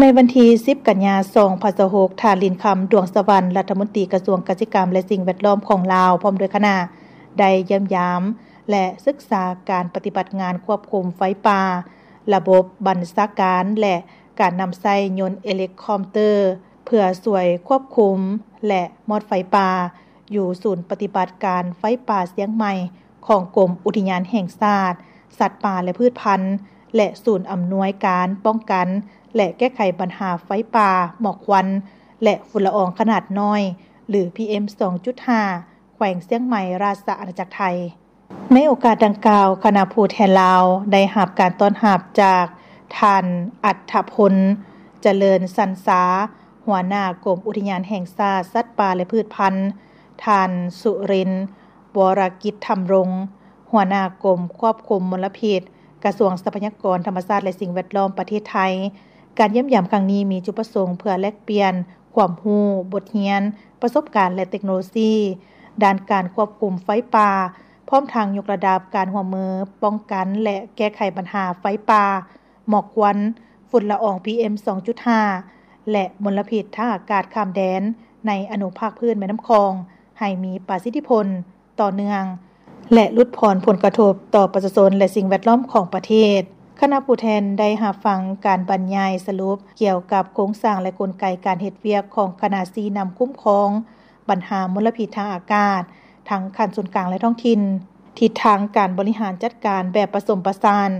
ໃນວັນທີສິບ ກັນຍາ ສອງພັນຊາວຫົກ, ທ່ານ ລິນຄຳ ດວງສະຫວັນ ລັດຖະມົນຕີກະຊວງກະສິກຳ ແລະ ສິ່ງແວດລ້ອມຂອງລາວ ພ້ອມດ້ວຍຄະນະ ໄດ້ຢ້ຽມຢາມ ແລະ ສຶກສາການປະຕິບັດງານຄວບຄຸມໄຟປ່າ, ລະບົບບັນຊາການ ແລະ ການນຳໃຊ້ຍົນເອລິຄອບເຕີ ເພື່ອຊ່ວຍຄວບຄຸມ ແລະ ມອດໄຟປ່າ ຢູ່ສູນປະຕິບັດການໄຟປ່າຊຽງໃໝ່ ຂອງກົມອຸທິຍານແຫ່ງຊາດ ສັດປ່າ ແລະ ພືດພັນ ແລະ ສູນອຳນວຍການປ້ອງກັນ ແລະ ແກ້ໄຂບັນຫາໄຟປ່າ, ໝອກຄວັນ ແລະ ຝຸ່ນລະອອງຂະໜາດນ້ອຍ ຫຼື ພີເອັມ ສອງຈຸດຫ້າ ແຂວງຊຽງໃໝ່ ລາຊະອານາຈັກໄທ. ໃນໂອກາດດັ່ງກ່າວ, ຄະນະຜູ້ແທນລາວໄດ້ຮັບການຕ້ອນຮັບຈາກທ່ານ ອັດຖະພົນ ຈະເລີນສັນສາ ຫົວໜ້າກົມອຸທິຍານແຫ່ງຊາດ ສັດປ່າ ແລະ ພືດພັນ, ທ່ານ ສຸລິນ ວໍລະກິດທຳລົງ ຫົວໜ້າກົມຄວບຄຸມມົນລະພິດ ກະຊວງຊັບພະຍາກອນທຳມະຊາດ ແລະ ສິ່ງແວດລ້ອມປະເທດໄທ. ການຢ້ຽມຢາມຄັ້ງນີ້ມີຈຸດປະສົງເພື່ອແລກປ່ຽນຄວາມຮູ້, ບົດຮຽນ, ປະສົບການ ແລະ ເຕັກໂນໂລຊີດ້ານການຄວບຄຸມໄຟປ່າ, ພ້ອມທັງຍົກລະດັບການຮ່ວມມືປ້ອງກັນ ແລະ ແກ້ໄຂບັນຫາໄຟປ່າ, ໝອກຄວັນ, ຝຸ່ນລະອອງ ພີເອັມ ສອງຈຸດຫ້າ ແລະ ມົນລະພິດທາງອາກາດຂ້າມແດນໃນອະນຸພາກພື້ນແມ່ນ້ຳຂອງ ໃຫ້ມີປະສິດທິຜົນ, ຕໍ່ເນື່ອງ ແລະ ຫຼຸດຜ່ອນຜົນກະທົບຕໍ່ປະຊາຊົນ ແລະ ສິ່ງແວດລ້ອມຂອງປະເທດ. ຄະນະຜູ້ແທນໄດ້ຮັບຟັງການບັນຍາຍສະຫຼຸບກ່ຽວກັບໂຄງສ້າງ ແລະ ກົນໄກການເຮັດວຽກຂອງຄະນະຊີ້ນຳຄຸ້ມຄອງບັນຫາມົນລະພິດທາງອາກາດ ທັງຂັ້ນສູນກາງ ແລະ ທ້ອງຖິ່ນ, ທິດທາງການບໍລິຫານຈັດການແບບປະສົມປະສານ,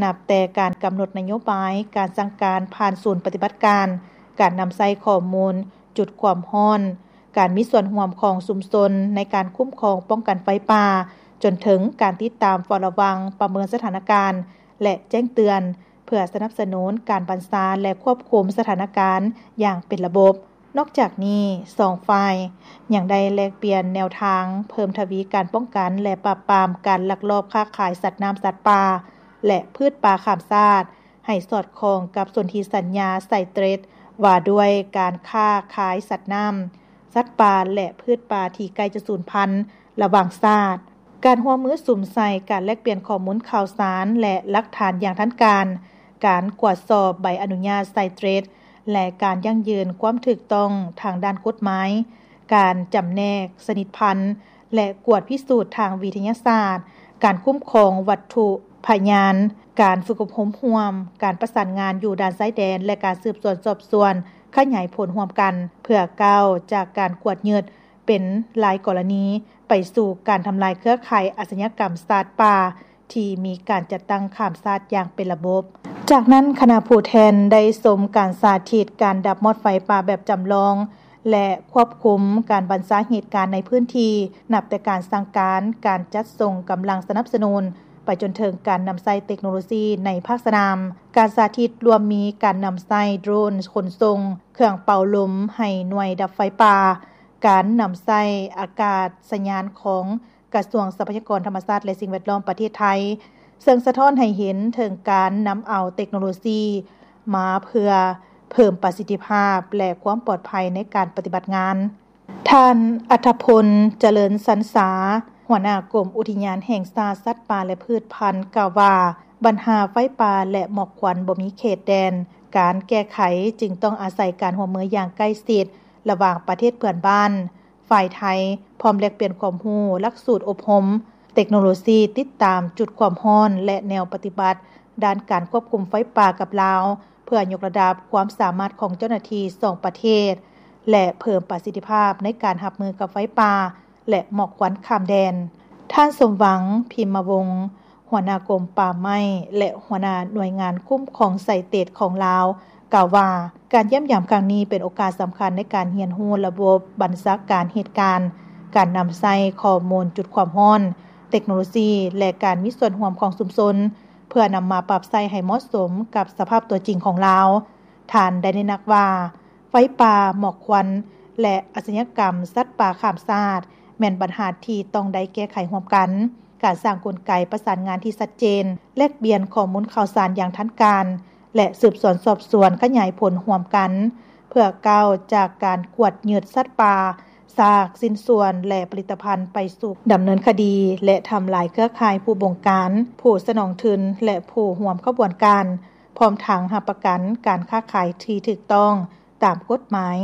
ນັບແຕ່ການກຳນົດນະໂຍບາຍ, ການສັ່ງການຜ່ານສູນປະຕິບັດການ, ການນຳໃຊ້ຂໍ້ມູນຈຸດຄວາມຮ້ອນ, ການມີສ່ວນຮ່ວມຂອງຊຸມຊົນໃນການຄຸ້ມຄອງປ້ອງກັນໄຟປ່າ, ຈົນເຖິງການຕິດຕາມເຝົ້າລະວັງ, ປະເມີນສະຖານະການ ແລະ ແຈ້ງເຕືອນ ເພື່ອສະໜັບສະໜູນການບັນຊາ ແລະ ຄວບຄຸມສະຖານະການຢ່າງເປັນລະບົບ. ນອກຈາກນີ້, ສອງຝ່າຍຍັງໄດ້ແລກປ່ຽນແນວທາງເພີ່ມທະວີການປ້ອງກັນ ແລະ ປາບປາມການລັກລອບຄ້າຂາຍສັດນ້ຳ, ສັດປ່າ ແລະ ພືດປ່າຂ້າມຊາດ ໃຫ້ສອດຄ່ອງກັບສົນທິສັນຍາໄຊເຕຣດ ວ່າດ້ວຍການຄ້າຂາຍສັດນ້ຳ, ສັດປ່າ ແລະ ພືດປ່າທີ່ໃກ້ຈະສູນພັນລະຫວ່າງຊາດ, ການຮ່ວມມືສຸມໃສ່ການແລກປ່ຽນຂໍ້ມູນຂ່າວສານ ແລະ ຫຼັກຖານຢ່າງທັນການ, ການກວດສອບໃບອະນຸຍາດໄຊເຕຣດ ແລະ ການຢັ້ງຢືນຄວາມຖືກຕ້ອງທາງດ້ານກົດໝາຍ, ການຈຳແນກຊະນິດພັນ ແລະ ກວດພິສູດທາງວິທະຍາສາດ, ການຄຸ້ມຄອງວັດຖຸພະຍານ, ການຝຶກອົບຮົມຮ່ວມ, ການປະສານງານຢູ່ດ່ານຊາຍແດນ ແລະ ການສືບສວນສອບສວນຂະຫຍາຍຜົນຮ່ວມກັນ ເພື່ອກ້າວຈາກການກວດຍຶດເປັນລາຍກໍລະນີ ໄປສູ່ການທຳລາຍເຄືອຂ່າຍອາຊະຍາກຳສັດປ່າ ທີ່ມີການຈັດຕັ້ງຂ້າມຊາດຢ່າງເປັນລະບົບ. ຈາກນັ້ນ, ຄະນະຜູ້ແທນໄດ້ຊົມການສາທິດການດັບມອດໄຟປ່າແບບຈຳລອງ ແລະ ຄວບຄຸມການບັນຊາເຫດການໃນພື້ນທີ່, ນັບແຕ່ການສັ່ງການ, ການຈັດສົ່ງກຳລັງສະໜັບສະໜູນ ໄປຈົນເຖິງການນຳໃຊ້ເຕັກໂນໂລຊີໃນພາກສະໜາມ. ການສາທິດລວມມີການນຳໃຊ້ໂດຣນຂົນສົ່ງ, ເຄື່ອງເປົ່າລົມໃຫ້ໜ່ວຍດັບໄຟປ່າ, ການນຳໃຊ້ອາກາດສະຍານຂອງ ກະຊວງຊັບພະຍາກອນທຳມະຊາດ ແລະ ສິ່ງແວດລ້ອມປະເທດໄທ, ເຊິ່ງສະທ້ອນໃຫ້ເຫັນເຖິງການນຳເອົາເຕັກໂນໂລຊີມາເພື່ອເພີ່ມປະສິດທິພາບ ແລະ ຄວາມປອດໄພໃນການປະຕິບັດງານ. ທ່ານ ອັດຖະພົນ ຈະເລີນສັນສາ, ຫົວໜ້າກົມອຸທິຍານແຫ່ງຊາດສັດປ່າ ແລະ ພືດພັນ ກ່າວວ່າ ບັນຫາໄຟປ່າ ແລະ ໝອກຄວັນບໍ່ມີເຂດແດນການແກ້ໄຂ, ຈຶ່ງຕ້ອງອາໄສການຮ່ວມມືຢ່າງໃກ້ຊິດລະຫວ່າງປະເທດເພື່ອນບ້ານ, ຝ່າຍໄທ ພ້ອມແລກປ່ຽນຄວາມຮູ້, ຫຼັກສູດອົບຮົມ, ເຕັກໂນໂລຊີຕິດຕາມຈຸດຄວາມຮ້ອນ ແລະ ແນວປະຕິບັດດ້ານການຄວບຄຸມໄຟປ່າກັບລາວ ເພື່ອຍົກລະດັບຄວາມສາມາດຂອງເຈົ້າໜ້າທີ່ສອງປະເທດ ແລະ ເພີ່ມປະສິດທິພາບໃນການຮັບມືກັບໄຟປ່າ ແລະ ໝອກຄວັນຂ້າມແດນ. ທ່ານ ສົມຫວັງ ພິມມະວົງ, ຫົວໜ້າກົມປ່າໄມ້ ແລະ ຫົວໜ້າໜ່ວຍງານຄຸ້ມຄອງໄຊເຕດຂອງລາວ ກ່າວວ່າ ການຢ້ຽມຢາມຄັ້ງນີ້ເປັນໂອກາດສຳຄັນໃນການຮຽນຮູ້ລະບົບບັນຊາການເຫດການ, ການນຳໃຊ້ຂໍ້ມູນຈຸດຄວາມຮ້ອນ, ເຕັກໂນໂລຊີ ແລະ ການມີສ່ວນຮ່ວມຂອງຊຸມຊົນ ເພື່ອນຳມາປັບໃຊ້ໃຫ້ເໝາະສົມກັບສະພາບຕົວຈິງຂອງລາວ. ທ່ານໄດ້ເນັ້ນໜັກວ່າ ໄຟປ່າ, ໝອກຄວັນ ແລະ ອາຊະຍາກຳສັດປ່າຂ້າມຊາດ ແມ່ນບັນຫາທີ່ຕ້ອງໄດ້ແກ້ໄຂຮ່ວມກັນ. ການສ້າງກົນໄກປະສານງານທີ່ຊັດເຈນ, ແລກປ່ຽນຂໍ້ມູນຂ່າວສານຢ່າງທັນການ ແລະ ສືບສວນສອບສວນຂະຫຍາຍຜົນຮ່ວມກັນ ເພື່ອກ້າວຈາກການກວດຍຶດສັດປ່າ, ຊາກ, ຊິ້ນສ່ວນ ແລະ ຜະລິດຕະພັນ ໄປສູ່ດຳເນີນຄະດີ ແລະ ທຳລາຍເຄືອຂ່າຍຜູ້ບົງການ, ຜູ້ສະໜອງທຶນ ແລະ ຜູ້ຮ່ວມຂະບວນການ. ພ້ ພ້ອມທັງຮັບປະກັນການຄ້າຂາຍທີ່ຖືກຕ້ອງຕາມກົດໝາຍ,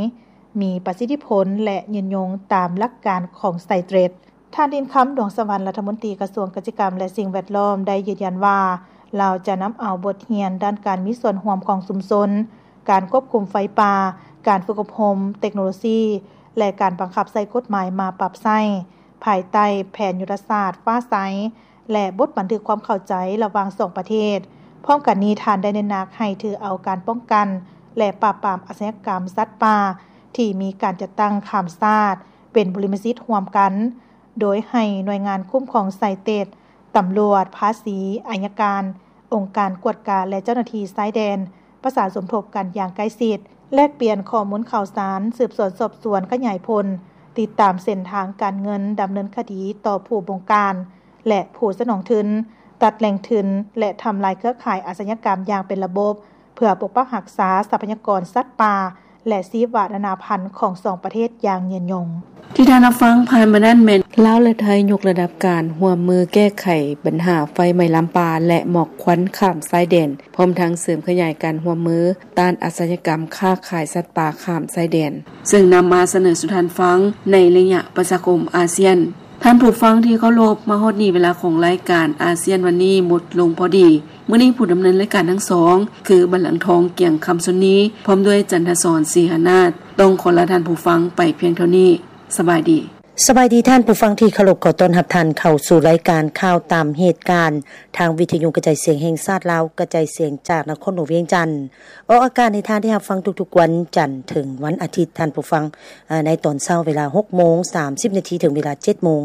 ມີປະສິດທິຜົນ ແລະ ຍືນຍົງຕາມຫຼັກການຂອງໄຊເຕຣດ. ທ່ານ ດິນຄຳ ດວງສະຫວັນ ລັດຖະມົນຕີກະຊວງກະສິກຳ ແລະ ສິ່ງແວດລ້ອມ ໄດ້ຢືນຢັນວ່າ ລາວຈະນຳເອົາບົດຮຽນດ້ານການມີສ່ວນຮ່ວມຂອງຊຸມຊົນ, ການຄວບຄຸມໄຟປ່າ, ການຝຶກອົບຮົມເຕັກໂນໂລຊີ ແລະ ການບັງຄັບໃຊ້ກົດໝາຍມາປັບໃຊ້ ພາຍໃຕ້ແຜນຍຸດທະສາດຟ້າໃສ ແລະ ບົດບັນທຶກຄວາມເຂົ້າໃຈລະຫວ່າງສອງປະເທດ. ພ້ອມກັນນີ້, ທ່ານໄດ້ເນັ້ນໜັກໃຫ້ຖືເອົາການປ້ອງກັນ ແລະ ປາບປາມອາຊະຍາກຳສັດປ່າທີ່ມີການຈັດຕັ້ງຂ້າມຊາດເປັນບຸລິມະສິດຮ່ວມກັນ, ໂດຍໃຫ້ໜ່ວຍງານຄຸ້ມຄອງໄຊເຕດ, ຕຳຫຼວດ, ພາສີ, ໄອຍະການ, ອົງການກວດກາ ແລະ ເຈົ້າໜ້າທີ່ຊາຍແດນ ປະສານສົມທົບກັນຢ່າງໃກ້ຊິດ, ແລກປ່ຽນຂໍ້ມູນຂ່າວສານ, ສືບສວນສອບສວນຂະຫຍາຍຜົນ, ຕິດຕາມເສັ້ນທາງການເງິນ, ດຳເນີນຄະດີຕໍ່ຜູ້ບົງການ ແລະ ຜູ້ສະໜອງທຶນ, ຕັດແຫຼ່ງທຶນ ແລະ ທຳລາຍເຄືອຂ່າຍອາຊະຍາກຳຢ່າງເປັນລະບົບ, ເພື່ອປົກປັກຮັກສາຊັບພະຍາກອນສັດປ່າ ແລະ ຊີວະນານາພັນຂອງສອງປະເທດຢ່າງຍືນຍົງ. ທີ່ທ່ານຮັບຟັງຜ່ານມານັ້ນແມ່ນ ລາວ ແລະ ໄທ ຍົກລະດັບການຮ່ວມມືແກ້ໄຂບັນຫາໄຟໄໝ້ລາມປ່າ ແລະ ໝອກຄວັນຂ້າມຊາຍແດນ, ພ້ອມທັງເສີມຂະຫຍາຍການຮ່ວມມືຕ້ານອາຊະຍາກຳຄ້າຂາຍສັດປ່າຂ້າມຊາຍແດນ, ເຊິ່ງນຳມາສະເໜີສູ່ທ່ານຟັງໃນໄລຍະປະຊາຄົມອາຊຽນ. ທ່ານຜູ້ຟັງທີ່ເຄົາລົບ, ມາຮອດນີ້ເວລາຂອງລາຍການອາຊຽນວັນນີ້ໝົດລົງພໍດີ. ມື້ນີ້ຜູ້ດຳເນີນລາຍການທັງສອງ ຄື ບັນລັງທອງ ກຽງຄຳຊົນນີ ພ້ອມດ້ວຍ ຈັນທະສອນ ສີຫານາດ ຕ້ອງຂໍລາທ່ານຜູ້ຟັງໄປພຽງເທົ່ານີ້. ສະບາຍດີ. ສະບາຍດີທ່ານຜູ້ຟັງທີ່ເຄົາລົບ, ຂໍຕ້ອນຮັບທ່ານເຂົ້າສູ່ລາຍການຂ່າວຕາມເຫດການ ທາງວິທະຍຸກະຈາຍສຽງແຫ່ງຊາດລາວ, ກະຈາຍສຽງຈາກນະຄອນຫຼວງວຽງຈັນ. ອອກອາກາດໃຫ້ທ່ານໄດ້ຮັບຟັງທຸກໆວັນຈັນເຖິງວັນອາທິດ, ທ່ານຜູ້ຟັງ, ໃນຕອນເຊົ້າເວລາຫົກໂມງສາມສິບນາທີ ເຖິງເວລາເຈັດໂມງ.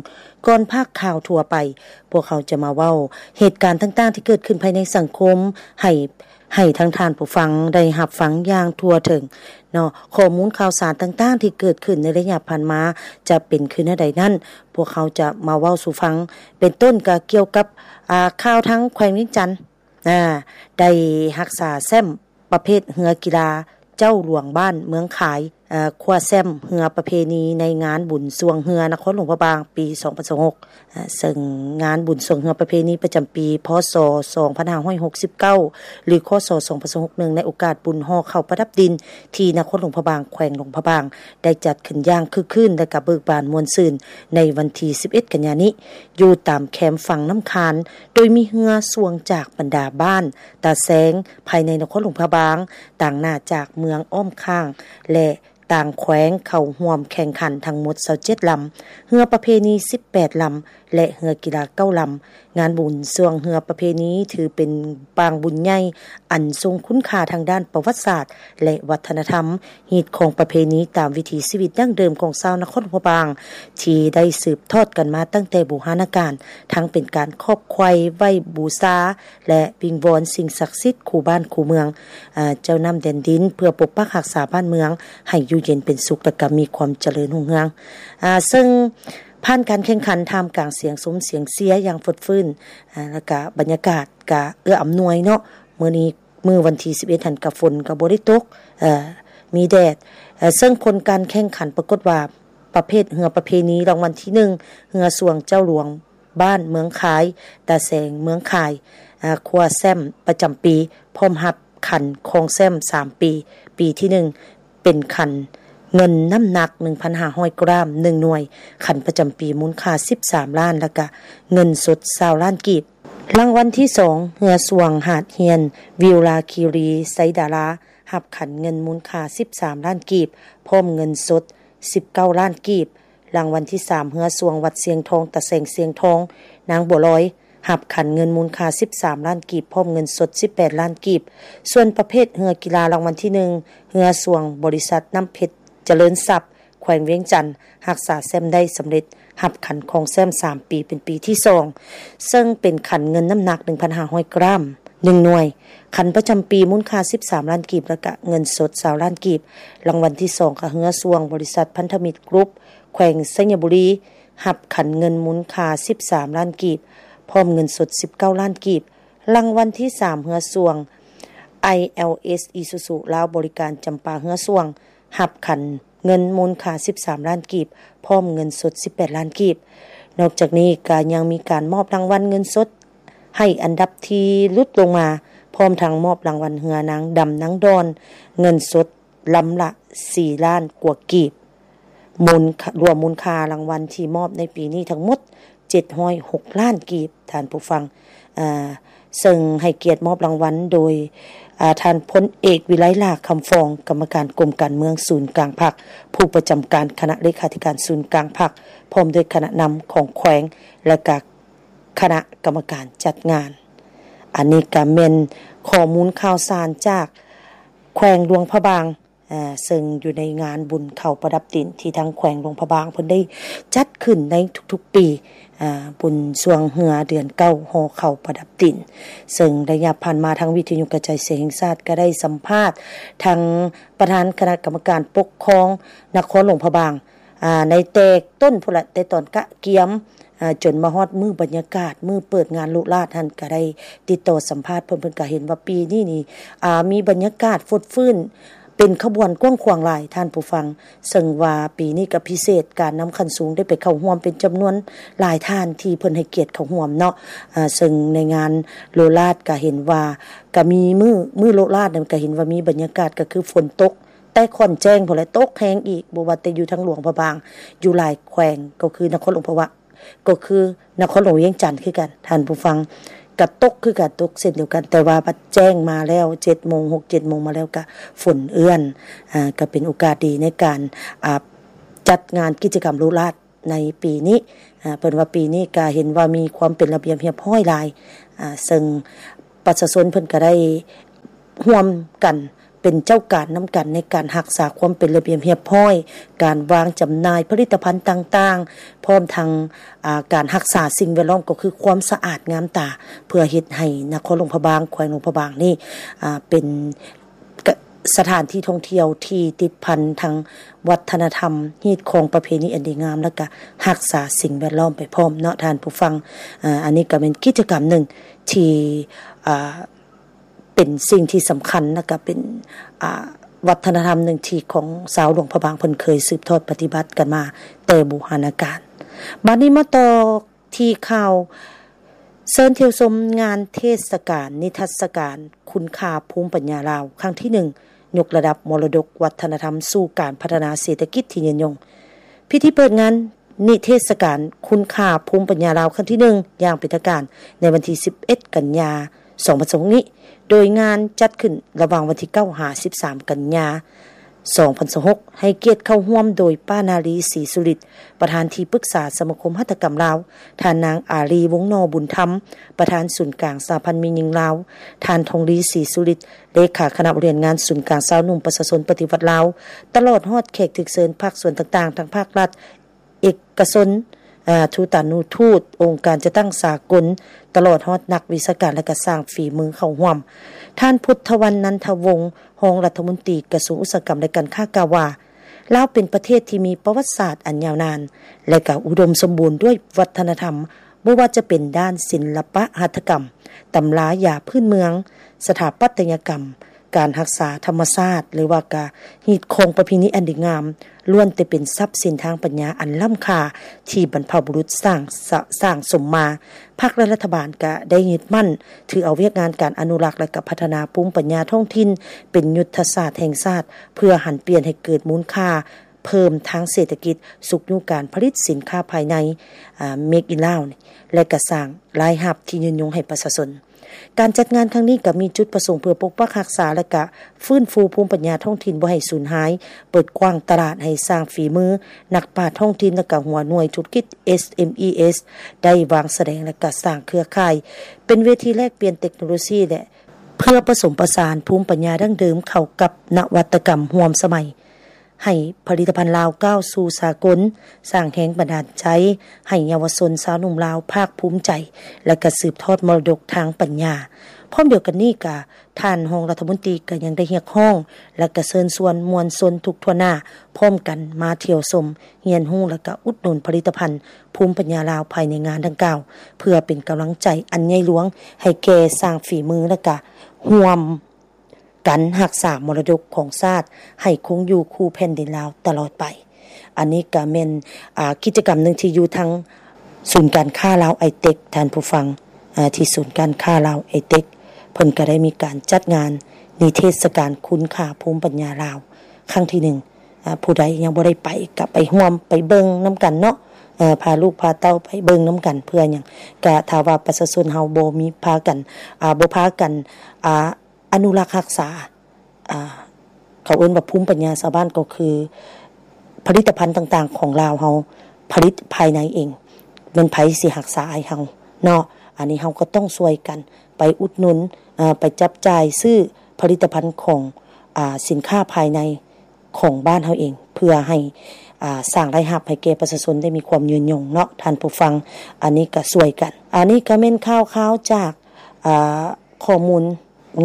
ກ່ອນພາກຂ່າວທົ່ວໄປ, ພວກເຮົາຈະມາເວົ້າເຫດການຕ່າງໆທີ່ເກີດຂຶ້ນພາຍໃນສັງຄົມ ໃຫ້ ໃຫ້ທັງທ່ານຜູ້ຟັງໄດ້ຮັບຟັງຢ່າງທົ່ວເຖິງເນາະ. ຂໍ້ມູນຂ່າວສານຕ່າງໆທີ່ເກີດຂຶ້ນໃນໄລຍະຜ່ານມາຈະເປັນຄືແນວໃດນັ້ນ, ພວກເຮົາຈະມາເວົ້າສູ່ຟັງ. ເປັນຕົ້ນກໍກ່ຽວກັບ ອ່າ ຂ່າວທາງແຂວງວຽງຈັນ ອ່າ ໄດ້ຮັກສາແຊ້ມປະເພດເຮືອກິລາເຈົ້າຫຼວງບ້ານເມືອງຄາຍ ອ່າ ຄວ້າແຊ້ມເຮືອປະເພນີໃນງານບຸນຊ່ວງເຮືອນະຄອນຫຼວງພະບາງປີສອງພັນຊາວຫົກ ເຊິ່ງງານບຸນຊ່ວງເຮືອປະເພນີປະຈຳປີ ພ.ສ. ສອງພັນຫ້າຮ້ອຍຫົກສິບເກົ້າ ຫຼື ຄ.ສ. ສອງພັນຊາວຫົກ ເນື່ອງໃນໂອກາດບຸນຫໍ່ເຂົ້າປະດັບດິນ ທີ່ນະຄອນຫຼວງພະບາງ ແຂວງຫຼວງພະບາງ ໄດ້ຈັດຂຶ້ນຢ່າງຄຶກຄື້ນ ແລະ ກະເບີກບານມ່ວນຊື່ນ ໃນວັນທີສິບເອັດ ກັນຍານີ້ ຢູ່ຕາມແຄມຝັ່ງນ້ຳຄານ, ໂດຍມີເຮືອຊ່ວງຈາກບັນດາບ້ານຕາແຊງ ພາຍໃນນະຄອນຫຼວງພະບາງ, ຕາງໜ້າຈາກເມືອງອ້ອມຂ້າງ ແລະ ຕ່າງແຂວງເຂົ້າຮ່ວມແຂ່ງຂັນທັງໝົດຊາວເຈັດລຳ, ເຮືອປະເພນີສິບແປດລຳ ແລະ ເຮືອກິລາເກົ້າລຳ. ງານບຸນຊ່ວງເຮືອປະເພນີຖືເປັນປາງບຸນໃຫຍ່ ອັນຊົງຄຸນຄ່າທາງດ້ານປະຫວັດສາດ ແລະ ວັດທະນະທຳ, ຮີດຄອງປະເພນີຕາມວິຖີຊີວິດດັ້ງເດີມຂອງຊາວນະຄອນຫຼວງພະບາງ ທີ່ໄດ້ສືບທອດກັນມາຕັ້ງແຕ່ບູຮານະການ, ທັງເປັນການຄອບໄຂວ້ໄຫວ້ບູຊາ ແລະ ວິງວອນສິ່ງສັກສິດຄູ່ບ້ານຄູ່ເມືອງ, ເຈົ້ານ້ຳແດນດິນ ເພື່ອປົກປັກຮັກສາບ້ານເມືອງໃຫ້ຢູ່ເຢັນເປັນສຸກ ແລະ ກໍມີຄວາມຈະເລີນຮຸ່ງເຮືອງ. ເຊິ່ງຜ່ານການແຂ່ງຂັນທ່າມກາງສຽງຊົມສຽງເຊຍຢ່າງຟົດຟື້ນ, ແລະ ກະບັນຍາກາດກະເອື້ອອຳນວຍເນາະ. ມື້ນີ້ ມື້ວັນທີສິບເອັດຫັ້ນກະຝົນກະບໍ່ໄດ້ຕົກ, ມີແດດ, ເຊິ່ງຜົນການແຂ່ງຂັນປາກົດວ່າ ປະເພດເຮືອປະເພນີ ລາງວັນທີໜຶ່ງ ເຮືອຊ່ວງເຈົ້າຫຼວງ ບ້ານເມືອງຄາຍ, ຕາແສງເມືອງຄາຍ, ຄວ້າແຊ້ມປະຈຳປີ ພ້ອມຮັບຂັນຄອງແຊ້ມສາມປີ, ປີທີໜຶ່ງ ເປັນຂັນເງິນນ້ຳໜັກໜຶ່ງພັນຫ້າຮ້ອຍກຣາມ ໜຶ່ງໜ່ວຍ, ຂັນປະຈຳປີມູນຄ່າສິບສາມລ້ານ ແລະ ກະເງິນສົດຊາວລ້ານກີບ. ລາງວັນທີສອງ ເຮືອຊ່ວງຫາດຮຽນ ວິວລາຄີຣີ ໄຊດາລາ ຮັບຂັນເງິນມູນຄ່າສິບສາມລ້ານກີບ ພ້ອມເງິນສົດສິບເກົ້າລ້ານກີບ. ລາງວັນທີສາມ ເຮືອຊ່ວງວັດຊຽງທອງ ຕາແສງຊຽງທອງ ນາງບົວລອຍ ຮັບຂັນເງິນມູນຄ່າສິບສາມລ້ານກີບ ພ້ອມເງິນສົດສິບແປດລ້ານກີບ. ສ່ວນປະເພດເຮືອກິລາ ລາງວັນທີໜຶ່ງ ເຮືອຊ່ວງບໍລິສັດນ້ຳເພັດຈະເລີນຊັບ ແຂວງວຽງຈັນ ຮັກສາແຊ້ມໄດ້ສຳເລັດ ຮັບຂັນຄອງແຊ້ມສາມປີ ເປັນປີທີສອງ ເຊິ່ງເປັນຂັນເງິນນ້ຳໜັກໜຶ່ງພັນຫ້າຮ້ອຍກຣາມ ໜຶ່ງໜ່ວຍ, ຂັນປະຈຳປີມູນຄ່າສິບສາມລ້ານກີບ ແລະ ກະເງິນສົດຊາວລ້ານກີບ. ລາງວັນທີສອງ ກະເຮືອຊ່ວງບໍລິສັດພັນທະມິດກຣຸບ ແຂວງໄຊຍະບູລີ ຮັບຂັນເງິນມູນຄ່າສິບສາມລ້ານກີບ ພ້ອມເງິນສົດສິບເກົ້າລ້ານກີບ. ລາງວັນທີສາມ ເຮືອຊ່ວງ ໄອແອລເອສ ອີຊູຊູ ລາວບໍລິການ ຈຳປາ ເຮືອຊ່ວງ ຮັບຂັນເງິນມູນຄ່າສິບສາມລ້ານກີບ ພ້ອມເງິນສົດສິບແປດລ້ານກີບ. ນອກຈາກນີ້ກະຍັງມີການມອບລາງວັນເງິນສົດໃຫ້ອັນດັບທີ່ຫຼຸດລົງມາ ພ້ອມທັງມອບລາງວັນເຮືອນາງດຳນາງດອນ ເງິນສົດລຳລະສີ່ລ້ານກວ່າກີບ, ມູນຄ່າ ລວມມູນຄ່າລາງວັນທີ່ມອບໃນປີນີ້ທັງໝົດເຈັດຮ້ອຍຫົກລ້ານກີບ, ທ່ານຜູ້ຟັງ. ເຊິ່ງໃຫ້ກຽດມອບລາງວັນໂດຍ ອາ ທ່ານພົນເອກ ວິໄລ ຫຼ້າຄຳຟອງ ກຳມະການກົມການເມືອງສູນກາງພັກ, ຜູ້ປະຈຳການຄະນະເລຂາທິການສູນກາງພັກ, ພ້ອມດ້ວຍຄະນະນຳຂອງແຂວງ ແລະ ກະຄະນະກຳມະການຈັດງານ. ອັນນີ້ກະແມ່ນຂໍ້ມູນຂ່າວສານຈາກແຂວງຫຼວງພະບາງ, ເຊິ່ງຢູ່ໃນງານບຸນເຂົ້າປະດັບຕີນທີ່ທາງແຂວງຫຼວງພະບາງເພິ່ນໄດ້ຈັດຂຶ້ນໃນທຸກໆປີ ອາ ບຸນຊ່ວງເຮືອເດືອນເກົ້າຫໍ່ເຂົ້າປະດັບຕີນ. ເຊິ່ງໄລຍະຜ່ານມາທາງວິທະຍຸກະຈາຍສຽງແຫ່ງຊາດກະໄດ້ສຳພາດທັງປະທານຄະນະກຳມະການປົກຄອງນະຄອນຫຼວງພະບາງ ອາ ໃນແຕ່ຕົ້ນພຸ້ນລະ ແຕ່ຕອນກະກຽມ ອາ ຈົນມາຮອດມື້ບັນຍາກາດ ມື້ເປີດງານໂລະລາດຫັ້ນ ກະໄດ້ຕິດຕໍ່ສຳພາດເພິ່ນ, ເພິ່ນກະເຫັນວ່າປີນີ້ນີ້ ອາ ມີບັນຍາກາດຟົດຟື້ນ ເປັນຂະບວນກວ້າງຂວາງຫຼາຍ ທ່ານຜູ້ຟັງ. ເຊິ່ງວ່າປີນີ້ກະພິເສດ ການນຳຂັ້ນສູງໄດ້ໄປເຂົ້າຮ່ວມເປັນຈຳນວນຫຼາຍທ່ານທີ່ເພິ່ນໃຫ້ກຽດເຂົ້າຮ່ວມເນາະ. ອາ ເຊິ່ງໃນງານໂລະລາດກະເຫັນວ່າ ກະມີມື້ ມື້ໂລະລາດນັ້ນກະເຫັນວ່າມີບັນຍາກາດ ກະຄືຝົນຕົກ ແຕ່ຂ້ອນແຈ້ງພຸ້ນແຫຼະ ຕົກແຮງອີກ, ບໍ່ວ່າແຕ່ຢູ່ທາງຫຼວງພະບາງ, ຢູ່ຫຼາຍແຂວງ ກໍຄືນະຄອນຫຼວງພະບາງ ກໍຄືນະຄອນຫຼວງວຽງຈັນຄືກັນ ທ່ານຜູ້ຟັງ, ກະຕົກຄືກັນ ຕົກເຊັ່ນດຽວກັນ, ແຕ່ວ່າບັດແຈ້ງມາແລ້ວ ເຈັດໂມງ ຫົກເຈັດໂມງມາແລ້ວ ກະຝົນເອື້ອນ. ອາ ກະເປັນໂອກາດດີໃນການ ອາ ຈັດງານກິດຈະກຳໂລະລາດໃນປີນີ້. ອາ ເພິ່ນວ່າປີນີ້ກະເຫັນວ່າມີຄວາມເປັນລະບຽບຮຽບຮ້ອຍຫຼາຍ, ອາ ເຊິ່ງປະຊາຊົນເພິ່ນກະໄດ້ຮ່ວມກັນ ເປັນເຈົ້າການນຳກັນໃນການຮັກສາຄວາມເປັນລະບຽບຮຽບຮ້ອຍ, ການວາງຈຳໜ່າຍຜະລິດຕະພັນຕ່າງໆ, ພ້ອມທັງ ອາ ການຮັກສາສິ່ງແວດລ້ອມ ກໍຄືຄວາມສະອາດງາມຕາ, ເພື່ອເຮັດໃຫ້ນະຄອນຫຼວງພະບາງ, ແຂວງຫຼວງພະບາງນີ້ ອາ ເປັນ ກະ ສະຖານທີ່ທ່ອງທ່ຽວທີ່ຕິດພັນທາງວັດທະນະທຳ, ຮີດຄອງປະເພນີອັນດີງາມ ແລ້ວກະຮັກສາສິ່ງແວດລ້ອມໄປພ້ອມເນາະ ທ່ານຜູ້ຟັງ. ອາ ອັນນີ້ກະແມ່ນກິດຈະກຳໜຶ່ງທີ່ ອາ ເປັນສິ່ງທີ່ສຳຄັນ ແລ້ວກະເປັນ ອາ ວັດທະນະທຳໜຶ່ງທີ່ຂອງຊາວຫຼວງພະບາງເພິ່ນເຄີຍສືບທອດປະຕິບັດກັນມາແຕ່ບູຮານະການ. ບາດນີ້ມາຕໍ່ທີ່ຂ່າວ ເຊີນທ່ຽວຊົມງານເທດສະການນິທັດສະການຄຸນຄ່າພູມປັນຍາລາວ ຄັ້ງທີໜຶ່ງ ຍົກລະດັບມໍລະດົກວັດທະນະທຳສູ່ການພັດທະນາເສດຖະກິດທີ່ຍືນຍົງ. ພິທີເປີດງານ ນິເທດສະການຄຸນຄ່າພູມປັນຍາລາວ ຄັ້ງທີໜຶ່ງ ຢ່າງເປັນທາງການ ໃນວັນທີສິບເອັດ ກັນຍາ ສອງພັນຊາວຫົກນີ້ ໂດຍງານຈັດຂຶ້ນລະຫວ່າງວັນທີເກົ້າ ຫາ ສິບສາມ ກັນຍາ ສອງພັນຊາວຫົກ ໃຫ້ກຽດເຂົ້າຮ່ວມໂດຍ ປ້າ ນາລີ ສີສຸລິດ ປະທານທີ່ປຶກສາສະມາຄົມຫັດຖະກຳລາວ, ທ່ານນາງ ອາລີ ວົງໜໍ່ບຸນທຳ ປະທານສູນກາງສະຫະພັນແມ່ຍິງລາວ, ທ່ານ ທອງລີ ສີສຸລິດ ເລຂາຄະນະບໍລິຫານງານສູນກາງຊາວໜຸ່ມປະຊາຊົນປະຕິວັດລາວ, ຕະຫຼອດຮອດແຂກຖືກເຊີນພາກສ່ວນຕ່າງໆ ທັງພາກລັດ, ເອກກະຊົນ, ອາ, ທູຕານຸທູດ, ອົງການຈັດຕັ້ງສາກົນ, ຕະຫຼອດຮອດນັກວິຊາການ ແລະ ກະຊ່າງຝີມືເຂົ້າຮ່ວມ. ທ່ານ ພຸດທະວັນ ນັນທະວົງ, ຮອງລັດຖະມົນຕີກະຊວງອຸດສາຫະກຳ ແລະ ການຄ້າ ກ່າວວ່າ, ລາວເປັນປະເທດທີ່ມີປະຫວັດສາດອັນຍາວນານ ແລະ ກະອຸດົມສົມບູນດ້ວຍວັດທະນະທຳ, ບໍ່ວ່າຈະເປັນດ້ານສິນລະປະຫັດຖະກຳ, ຕຳລາຢາພື້ນເມືອງ, ສະຖາປັດຕະຍະກຳ, ການຮັກສາທຳມະຊາດ ຫຼືວ່າກະຮີດຄອງປະເພນີອັນດີງາມ ລ້ວນແຕ່ເປັນຊັບສິນທາງປັນຍາອັນລ້ຳຄ່າທີ່ບັນພະບຸລຸດສ້າງສະ ສ້າງສົມມາ. ພັກ ແລະ ລັດຖະບານກະໄດ້ຍຶດໝັ້ນຖືເອົາວຽກງານການອະນຸລັກ ແລະ ກະພັດທະນາພູມປັນຍາທ້ອງຖິ່ນເປັນຍຸດທະສາດແຫ່ງຊາດ ເພື່ອຫັນປ່ຽນໃຫ້ເກີດມູນຄ່າເພີ່ມທາງເສດຖະກິດ, ຊຸກຍູ້ການຜະລິດສິນຄ້າພາຍໃນ, ອາ, Make in Lao ແລະ ກະສ້າງລາຍຮັບທີ່ຍືນຍົງໃຫ້ປະຊາຊົນ. ການຈັດງານຄັ້ງນີ້ກະມີຈຸດປະສົງເພື່ອປົກປັກຮັກສາ ແລະ ກະຟື້ນຟູພູມປັນຍາທ້ອງຖິ່ນບໍ່ໃຫ້ສູນຫາຍ, ເປີດກວ້າງຕະຫຼາດໃຫ້ຊ່າງຝີມື, ນັກປາດທ້ອງຖິ່ນ ແລະ ກະຫົວໜ່ວຍທຸລະກິດ ເອສເອັມອີເອສ ໄດ້ວາງສະແດງ ແລະ ກະສ້າງເຄືອຂ່າຍ ເປັນເວທີແລກປ່ຽນເຕັກໂນໂລຊີ ແລະ ເພື່ອປະສົມປະສານພູມປັນຍາດັ້ງເດີມເຂົ້າກັບນະວັດຕະກຳຮ່ວມສະໄໝ. ໃຫ້ຜະລິດຕະພັນລາວກ້າວສູ່ສາກົນ, ສ້າງແຮງບັນດານໃຈໃຫ້ເຍົາວະຊົນຊາວໜຸ່ມລາວພາກພູມໃຈ ແລະ ກະສືບທອດມໍລະດົກທາງປັນຍາ. ພ້ອມດຽວກັນນີ້ກະ ທ່ານຮອງລັດຖະມົນຕີກະຍັງໄດ້ຮຽກຮ້ອງ ແລະ ກະເຊີນຊວນມວນຊົນທຸກທົ່ວໜ້າ ພ້ອມກັນມາທ່ຽວຊົມ, ຮຽນຮູ້ ແລະ ກະອຸດໜູນຜະລິດຕະພັນພູມປັນຍາລາວພາຍໃນງານດັ່ງກ່າວ ເພື່ອເປັນກຳລັງໃຈອັນໃຫຍ່ຫຼວງໃຫ້ແກ່ຊ່າງຝີມື ແລະ ກະຮ່ວມ ການຮັກສາມໍລະດົກຂອງຊາດໃຫ້ຄົງຢູ່ຄູ່ແຜ່ນດິນລາວຕະຫຼອດໄປ. ອັນນີ້ກະແມ່ນ, ອາ, ກິດຈະກຳໜຶ່ງທີ່ຢູ່ທາງສູນການຄ້າລາວໄອເຕັກ, ທ່ານຜູ້ຟັງ, ອາ, ທີ່ສູນການຄ້າລາວໄອເຕັກ ເພິ່ນກໍໄດ້ມີການຈັດງານນິເທດສະການຄຸນຄ່າພູມປັນຍາລາວຄັ້ງທີໜຶ່ງ. ອາ ຜູ້ໃດຍັງບໍ່ໄດ້ໄປ ກໍໄປຮ່ວມໄປເບິ່ງນຳກັນເນາະ, ເອີ ພາລູກພາເຕົ້າໄປເບິ່ງນຳກັນ. ເພື່ອຫຍັງ? ກະຖ້າວ່າປະຊາຊົນເຮົາບໍ່ມີພາກັນ ອາ ບໍ່ພາກັນ ອາ ອະນຸລັກຮັກສາ ອາ ເຂົາເອີ້ນວ່າພູມປັນຍາຊາວບ້ານ ກໍຄືຜະລິດຕະພັນຕ່າງໆຂອງລາວເຮົາຜະລິດພາຍໃນເອງ, ແມ່ນໃຜຊິຮັກສາໃຫ້ເຮົາເນາະ? ອັນນີ້ເຮົາກໍຕ້ອງຊ່ວຍກັນໄປອຸດໜູນ ເອີ ໄປຈັບຈ່າຍຊື້ຜະລິດຕະພັນຂອງ ອາ ສິນຄ້າພາຍໃນຂອງບ້ານເຮົາເອງ ເພື່ອໃຫ້ ອາ ສ້າງລາຍຮັບໃຫ້ແກ່ປະຊາຊົນໄດ້ມີຄວາມຍືນຍົງເນາະທ່ານຜູ້ຟັງ. ອັນນີ້ກໍຊ່ວຍກັນ. ອັນນີ້ກໍແມ່ນຂ່າວຄາວຈາກ ອາ ຂໍ້ມູນ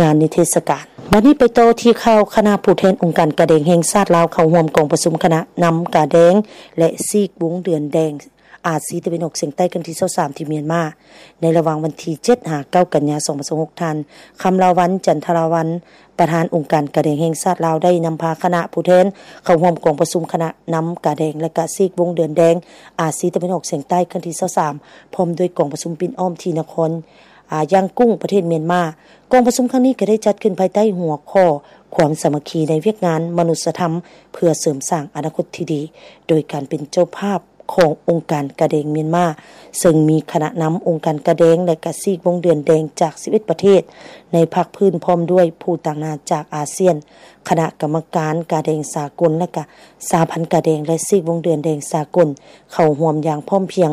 ງານນິເທດສະການ. ບັດນີ້ໄປຕໍ່ທີ່ຂ່າວຄະນະຜູ້ແທນອົງການກາແດງແຫ່ງຊາດລາວ ເຂົ້າຮ່ວມກອງປະຊຸມຄະນະນຳກາແດງ ແລະ ຊີກວົງເດືອນແດງອາຊີຕາເວັນອອກສຽງໃຕ້ຄັ້ງທີຊາວສາມທີ່ມຽນມາ ໃນລະຫວ່າງວັນທີເຈັດຫາເກົ້າກັນຍາສອງພັນຊາວຫົກ. ທ່ານ ຄຳລາວັນ ຈັນທະລາວັນ ປະທານອົງການກາແດງແຫ່ງຊາດລາວ ໄດ້ນຳພາຄະນະຜູ້ແທນເຂົ້າຮ່ວມກອງປະຊຸມຄະນະນຳກາແດງ ແລະ ກະຊີກວົງເດືອນແດງອາຊີຕາເວັນອອກສຽງໃຕ້ຄັ້ງທີຊາວສາມ ພ້ອມດ້ວຍກອງປະຊຸມປິ່ນອ້ອມທີ່ນະຄອນ ອາ ຢ້າງກຸ້ງ ປະເທດມຽນມາ. ກອງປະຊຸມຄັ້ງນີ້ກໍໄດ້ຈັດຂຶ້ນພາຍໃຕ້ຫົວຂໍ້ ຄວາມສາມັກຄີໃນວຽກງານມະນຸດສະທຳ ເພື່ອເສີມສ້າງອະນາຄົດທີ່ດີ ໂດຍການເປັນເຈົ້າພາບຂອງອົງການກາແດງມຽນມາ ເຊິ່ງມີຄະນະນຳອົງການກາແດງ ແລະ ກະຊີກວົງເດືອນແດງຈາກສິບເອັດປະເທດໃນພາກພື້ນ ພ້ອມດ້ວຍຜູ້ຕາງໜ້າຈາກອາຊຽນ, ຄະນະກຳມະການກາແດງສາກົນ ແລະ ກະສະຫະພັນກາແດງ ແລະ ຊີກວົງເດືອນແດງສາກົນ ເຂົ້າຮ່ວມຢ່າງພ້ອມພຽງ.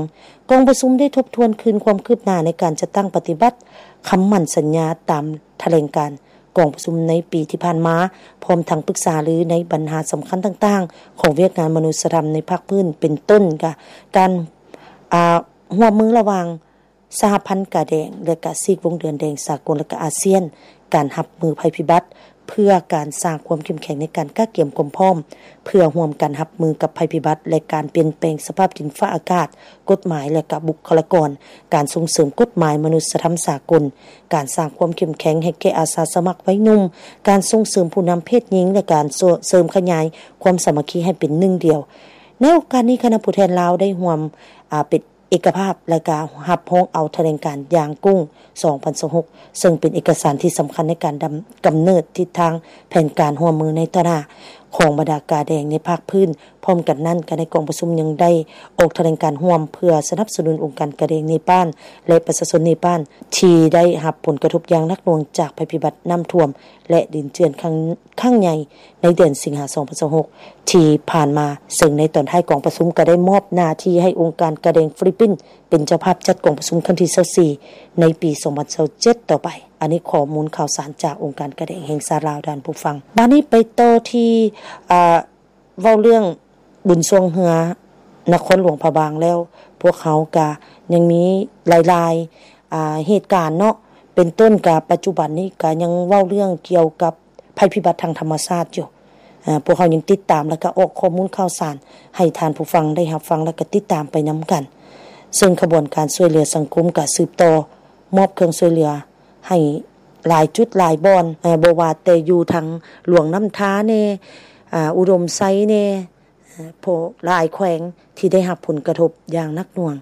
ກອງປະຊຸມໄດ້ທົບທວນຄືນຄວາມຄືບໜ້າໃນການຈັດຕັ້ງປະຕິບັດຄຳໝັ້ນສັນຍາຕາມຖະແຫຼງການກອງປະຊຸມໃນປີທີ່ຜ່ານມາ, ພ້ອມທັງປຶກສາລືໃນບັນຫາສຳຄັນຕ່າງໆຂອງວຽກງານມະນຸດສະທຳໃນພາກພື້ນ, ເປັນຕົ້ນກະການ ອາ ຮ່ວມມືລະຫວ່າງສະຫະພັນກາແດງ ແລະ ກະຊີກວົງເດືອນແດງສາກົນ ແລະ ກະອາຊຽນ, ການຮັບມືໄພພິບັດ ເພື່ອການສ້າງຄວາມເຂັ້ມແຂງໃນການກະກຽມຄວາມພ້ອມ ເພື່ອຮ່ວມກັນຮັບມືກັບໄພພິບັດ ແລະ ການປ່ຽນແປງສະພາບດິນຟ້າອາກາດ, ກົດໝາຍ ແລະ ກະບຸກຄະລາກອນ, ການສົ່ງເສີມກົດໝາຍມະນຸດສະທຳສາກົນ, ການສ້າງຄວາມເຂັ້ມແຂງໃຫ້ແກ່ອາສາສະໝັກໄວໜຸ່ມ, ການສົ່ງເສີມຜູ້ນຳເພດຍິງ ແລະ ການເສີມຂະຫຍາຍຄວາມສາມັກຄີໃຫ້ເປັນໜຶ່ງດຽວ. ໃນໂອກາດນີ້, ຄະນະຜູ້ແທນລາວໄດ້ຮ່ວມ ອາ ເປັນ ເອກະພາບ ແລະ ກະຮັບຮອງເອົາຖະແຫຼງການຢ່າງກຸ້ງ ສອງພັນຊາວຫົກ ເຊິ່ງເປັນເອກະສານທີ່ສຳຄັນໃນການດຳ ກຳເນີດທິດທາງແຜນການຮ່ວມມືໃນຕໍ່ໜ້າຂອງບັນດາກາແດງໃນພາກພື້ນ. ພ້ອມກັນນັ້ນ, ກະໃນກອງປະຊຸມຍັງໄດ້ອອກຖະແຫຼງການຮ່ວມເພື່ອສະໜັບສະໜູນອົງການກາແດງເນປານ ແລະ ປະຊາຊົນເນປານ ທີ່ໄດ້ຮັບຜົນກະທົບຢ່າງໜັກໜ່ວງຈາກໄພພິບັດນ້ຳຖ້ວມ ແລະ ດິນເຈື່ອນຄັ້ງ ຄັ້ງໃຫຍ່ໃນເດືອນສິງຫາ ສອງພັນຊາວຫົກ ທີ່ຜ່ານມາ, ເຊິ່ງໃນຕອນທ້າຍກອງປະຊຸມກໍໄດ້ມອບໜ້າທີ່ໃຫ້ອົງການກາແດງຟີລິບປິນເປັນເຈົ້າພາບຈັດກອງປະຊຸມຄັ້ງທີຊາວສີ່ ໃນປີສອງພັນຊາວເຈັດຕໍ່ໄປ. ອັນນີ້ຂໍ້ມູນຂ່າວສານຈາກອົງການກາແດງແຫ່ງຊາດລາວ, ທ່ານຜູ້ຟັງ. ບາດນີ້ໄປຕໍ່ທີ່ ອາ ເວົ້າເລື່ອງບຸນຊ່ວງເຮືອນະຄອນຫຼວງພະບາງແລ້ວ, ພວກເຮົາກະຍັງມີຫຼາຍໆ ອາ ເຫດການເນາະ, ເປັນຕົ້ນກະປັດຈຸບັນນີ້ກະຍັງເວົ້າເລື່ອງກ່ຽວກັບໄພພິບັດທາງທຳມະຊາດຢູ່. ອາ ພວກເຮົາຍັງຕິດຕາມ ແລະ ກະອອກຂໍ້ມູນຂ່າວສານໃຫ້ທ່ານຜູ້ຟັງໄດ້ຮັບຟັງ ແລະ ກະຕິດຕາມໄປນຳກັນ. ເຊິ່ງຂະບວນການຊ່ວຍເຫຼືອສັງຄົມກະສືບຕໍ່ມອບເຄື່ອງຊ່ວຍເຫຼືອ ໃຫ້ຫຼາຍຈຸດຫຼາຍບ່ອນ, ເອີ ບໍ່ວ່າແຕ່ຢູ່ທາງຫຼວງນ້ຳທາແດ່, ອາ ອຸດົມໄຊແດ່, ເອີ ໂພ ຫຼາຍແຂວງທີ່ໄດ້ຮັບຜົນກະທົບຢ່າງໜັກໜ່ວງ.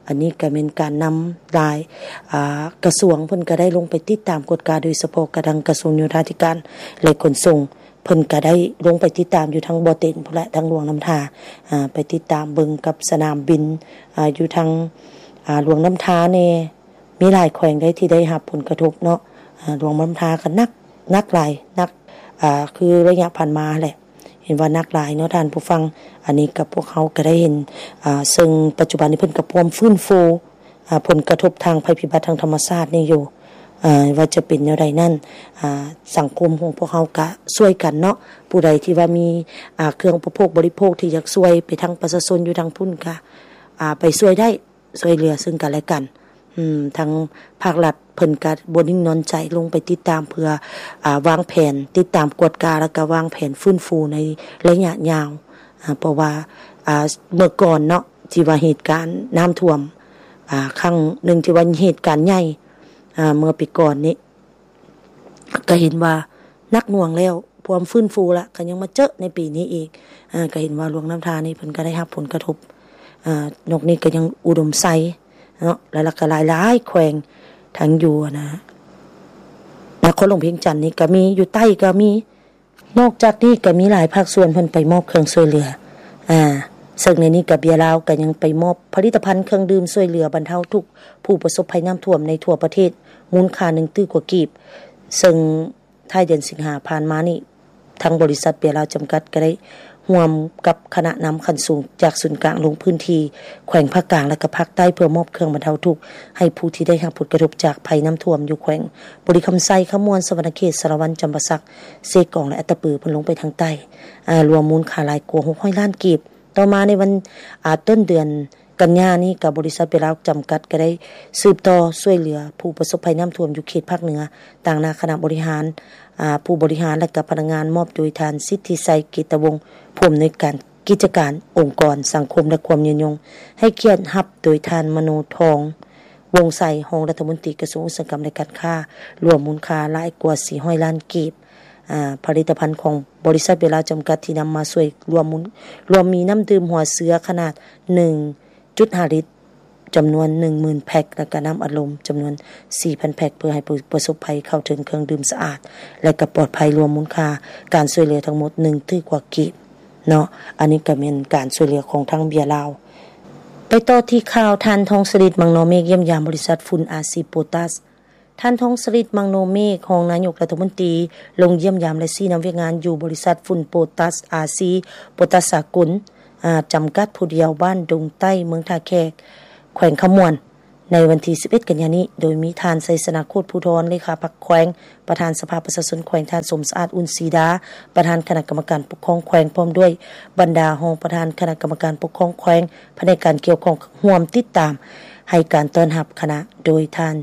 ອັນນີ້ກະແມ່ນການນຳຫຼາຍ ອາ ກະຊວງເພິ່ນກະໄດ້ລົງໄປຕິດຕາມກວດກາ, ໂດຍສະເພາະກະທາງກະຊວງໂຍທາທິການ ແລະ ຂົນສົ່ງ ເພິ່ນກະໄດ້ລົງໄປຕິດຕາມຢູ່ທາງບໍ່ເຕັນພຸ້ນແຫຼະ, ທາງຫຼວງນ້ຳທາ, ອາ ໄປຕິດຕາມເບິ່ງກັບສະໜາມບິນ, ອາ ຢູ່ທາງ ອາ ຫຼວງນ້ຳທາແດ່. ມີຫຼາຍແຂວງໃດທີ່ໄດ້ຮັບຜົນກະທົບເນາະ, ອາ ຫຼວງນ້ຳທາກໍໜັກ, ໜັກຫຼາຍ, ໜັກ ອາ ຄືໄລຍະຜ່ານມາຫັ້ນແຫຼະ, ເຫັນວ່າໜັກຫຼາຍເນາະທ່ານຜູ້ຟັງ. ອັນນີ້ກໍພວກເຮົາກໍໄດ້ເຫັນ, ອາ ເຊິ່ງປັດຈຸບັນນີ້ເພິ່ນກໍພວມຟື້ນຟູ, ອາ ຜົນກະທົບທາງໄພພິບັດທາງທຳມະຊາດນີ້ຢູ່, ອາ ວ່າຈະເປັນແນວໃດນັ້ນ, ອາ ສັງຄົມຂອງພວກເຮົາກະຊ່ວຍກັນເນາະ, ຜູ້ໃດທີ່ວ່າມີ, ອາ ເຄື່ອງອຸປະໂພກບໍລິໂພກທີ່ຢາກຊ່ວຍໄປທາງປະຊາຊົນຢູ່ທາງພຸ້ນກະ, ອາ ໄປຊ່ວຍໄດ້. ຊ່ວຍເຫຼືອເຊິ່ງກັນແລະກັນ. ອືມ ທາງພາກລັດເພິ່ນກະບໍ່ນິ່ງນອນໃຈ ລົງໄປຕິດຕາມເພື່ອ, ອາ, ວາງແຜນຕິດຕາມກວດກາ ແລ້ວກະວາງແຜນຟື້ນຟູໃນໄລຍະຍາວ. ອາ, ເພາະວ່າ, ອາ, ເມື່ອກ່ອນເນາະ ທີ່ວ່າເຫດການນ້ຳຖ້ວມ, ອາ, ຄັ້ງໜຶ່ງທີ່ວ່າເຫດການໃຫຍ່, ອາ, ເມື່ອປີກ່ອນນີ້ ກະເຫັນວ່າໜັກໜ່ວງແລ້ວ, ພວມຟື້ນຟູລະ ກະຍັງມາເຈິະໃນປີນີ້ອີກ. ອາ, ກະເຫັນວ່າຫຼວງນ້ຳທານີ້ເພິ່ນກະໄດ້ຮັບຜົນກະທົບ. ອາ, ນອກນີ້ກະຍັງອຸດົມໄຊເນາະ, ແລ້ວ ແລ້ວກະຫຼາຍໆແຂວງ ທັງຢູ່ ອັນນະ, ນະຄອນຫຼວງວຽງຈັນນີ້ກໍມີ ຢູ່ໃຕ້ກໍມີ. ນອກຈາກນີ້ກໍມີຫຼາຍພາກສ່ວນເພິ່ນໄປມອບເຄື່ອງຊ່ວຍເຫຼືອ ອາ ເຊິ່ງໃນນີ້ກໍເບຍລາວກໍຍັງໄປມອບຜະລິດຕະພັນເຄື່ອງດື່ມຊ່ວຍເຫຼືອບັນເທົາທຸກຜູ້ປະສົບໄພນ້ຳຖ້ວມໃນທົ່ວປະເທດ ມູນຄ່າໜຶ່ງຕື້ກວ່າກີບ ເຊິ່ງທ້າຍເດືອນສິງຫາຜ່ານມານີ້ ທາງບໍລິສັດເບຍລາວຈຳກັດກໍໄດ້ຮ່ວມກັບຄະນະນຳຂັ້ນສູງຈາກສູນກາງລົງພື້ນທີ່ແຂວງພາກກາງ ແລະ ກໍພາກໃຕ້ ເພື່ອມອບເຄື່ອງບັນເທົາທຸກໃຫ້ຜູ້ທີ່ໄດ້ຮັບຜົນກະທົບຈາກໄພນ້ຳຖ້ວມຢູ່ແຂວງບໍລິຄຳໄຊ, ຄຳມ່ວນ, ສະຫວັນນະເຂດ, ສາລະວັນ, ຈຳປາສັກ, ເຊກອງ ແລະ ອັດຕະປື ເພິ່ນລົງໄປທາງໃຕ້ ອາ ລວມມູນຄ່າຫຼາຍກວ່າຫົກຮ້ອຍລ້ານກີບ. ຕໍ່ມາໃນວັນ ອາ ຕົ້ນເດືອນກັນຍານີ້ ກໍບໍລິສັດເບຍລາວຈຳກັດກໍໄດ້ສືບຕໍ່ຊ່ວຍເຫຼືອຜູ້ປະສົບໄພນ້ຳຖ້ວມຢູ່ເຂດພາກເໜືອ ຕາງໜ້າຄະນະບໍລິຫານ ອາ ຜູ້ບໍລິຫານ ແລະ ກໍພະນັກງານ ມອບໂດຍທ່ານ ສິດທິໄຊ ເກດຕະວົງ ຜູ້ອຳນວຍການກິດຈະການອົງກອນສັງຄົມ ແລະ ຄວາມຍືນຍົງ, ໃຫ້ກຽດຮັບໂດຍທ່ານ ມະໂນທອງ ວົງໄຊ ຮອງລັດຖະມົນຕີກະຊວງອຸດສາຫະກຳ ແລະ ການຄ້າ, ລວມມູນຄ່າຫຼາຍກວ່າສີ່ຮ້ອຍລ້ານກີບ. ອາ ຜະລິດຕະພັນຂອງບໍລິສັດເບຍລາວຈຳກັດທີ່ນຳມາຊ່ວຍລວມມູນ ລວມມີນ້ຳດື່ມຫົວເສືອຂະໜາດໜຶ່ງຈຸດຫ້າລິດ ຈຳນວນໜຶ່ງໝື່ນແພັກ ແລະ ກະນ້ຳອັດລົມຈຳນວນສີ່ພັນແພັກ ເພື່ອໃຫ້ຜູ້ປະສົບໄພເຂົ້າເຖິງເຄື່ອງດື່ມສະອາດ ແລະ ກະປອດໄພ, ລວມມູນຄ່າການຊ່ວຍເຫຼືອທັງໝົດໜຶ່ງຕື້ກວ່າກີບເນາະ. ອັນນີ້ກະແມ່ນການຊ່ວຍເຫຼືອຂອງທາງເບຍລາວ. ໄປຕໍ່ທີ່ຂ່າວ ທ່ານ ທອງສະລິດ ມັງນໍເມກ ຢ້ຽມຢາມບໍລິສັດຝຸ່ນ ອາຊີ ໂປຕັສ. ທ່ານ ທອງສະລິດ ມັງໂນເມກ ຮອງນາຍົກລັດຖະມົນຕີ ລົງຢ້ຽມຢາມ ແລະ ຊີ້ນຳວຽກງານຢູ່ບໍລິສັດຝຸ່ນໂປຕັສ ອາຊີ ໂປຕັສສາກົນ ອາ ຈຳກັດຜູ້ດຽວ ບ້ານດົງໃຕ້ ເມືອງທ່າແຂກ ແຂວງຄຳມ່ວນ ໃນວັນທີສິບເອັດ ກັນຍານີ້ ໂດຍມີທ່ານ ໄຊຊະນະ ໂຄດພູທອນ ເລຂາພັກແຂວງ, ປະທານສະພາປະຊາຊົນແຂວງ, ທ່ານ ສົມສະອາດ ອຸ່ນສີດາ ປະທານຄະນະກຳມະການປົກຄອງແຂວງ ພ້ອມດ້ວຍບັນດາຮອງປະທານຄະນະກຳມະການປົກຄອງແຂວງ, ພະແນກການກ່ຽວຂ້ອງ ຮ່ວມຕິດຕາມໃຫ້ການຕ້ອນຮັບຄະນະ ໂດຍທ່ານ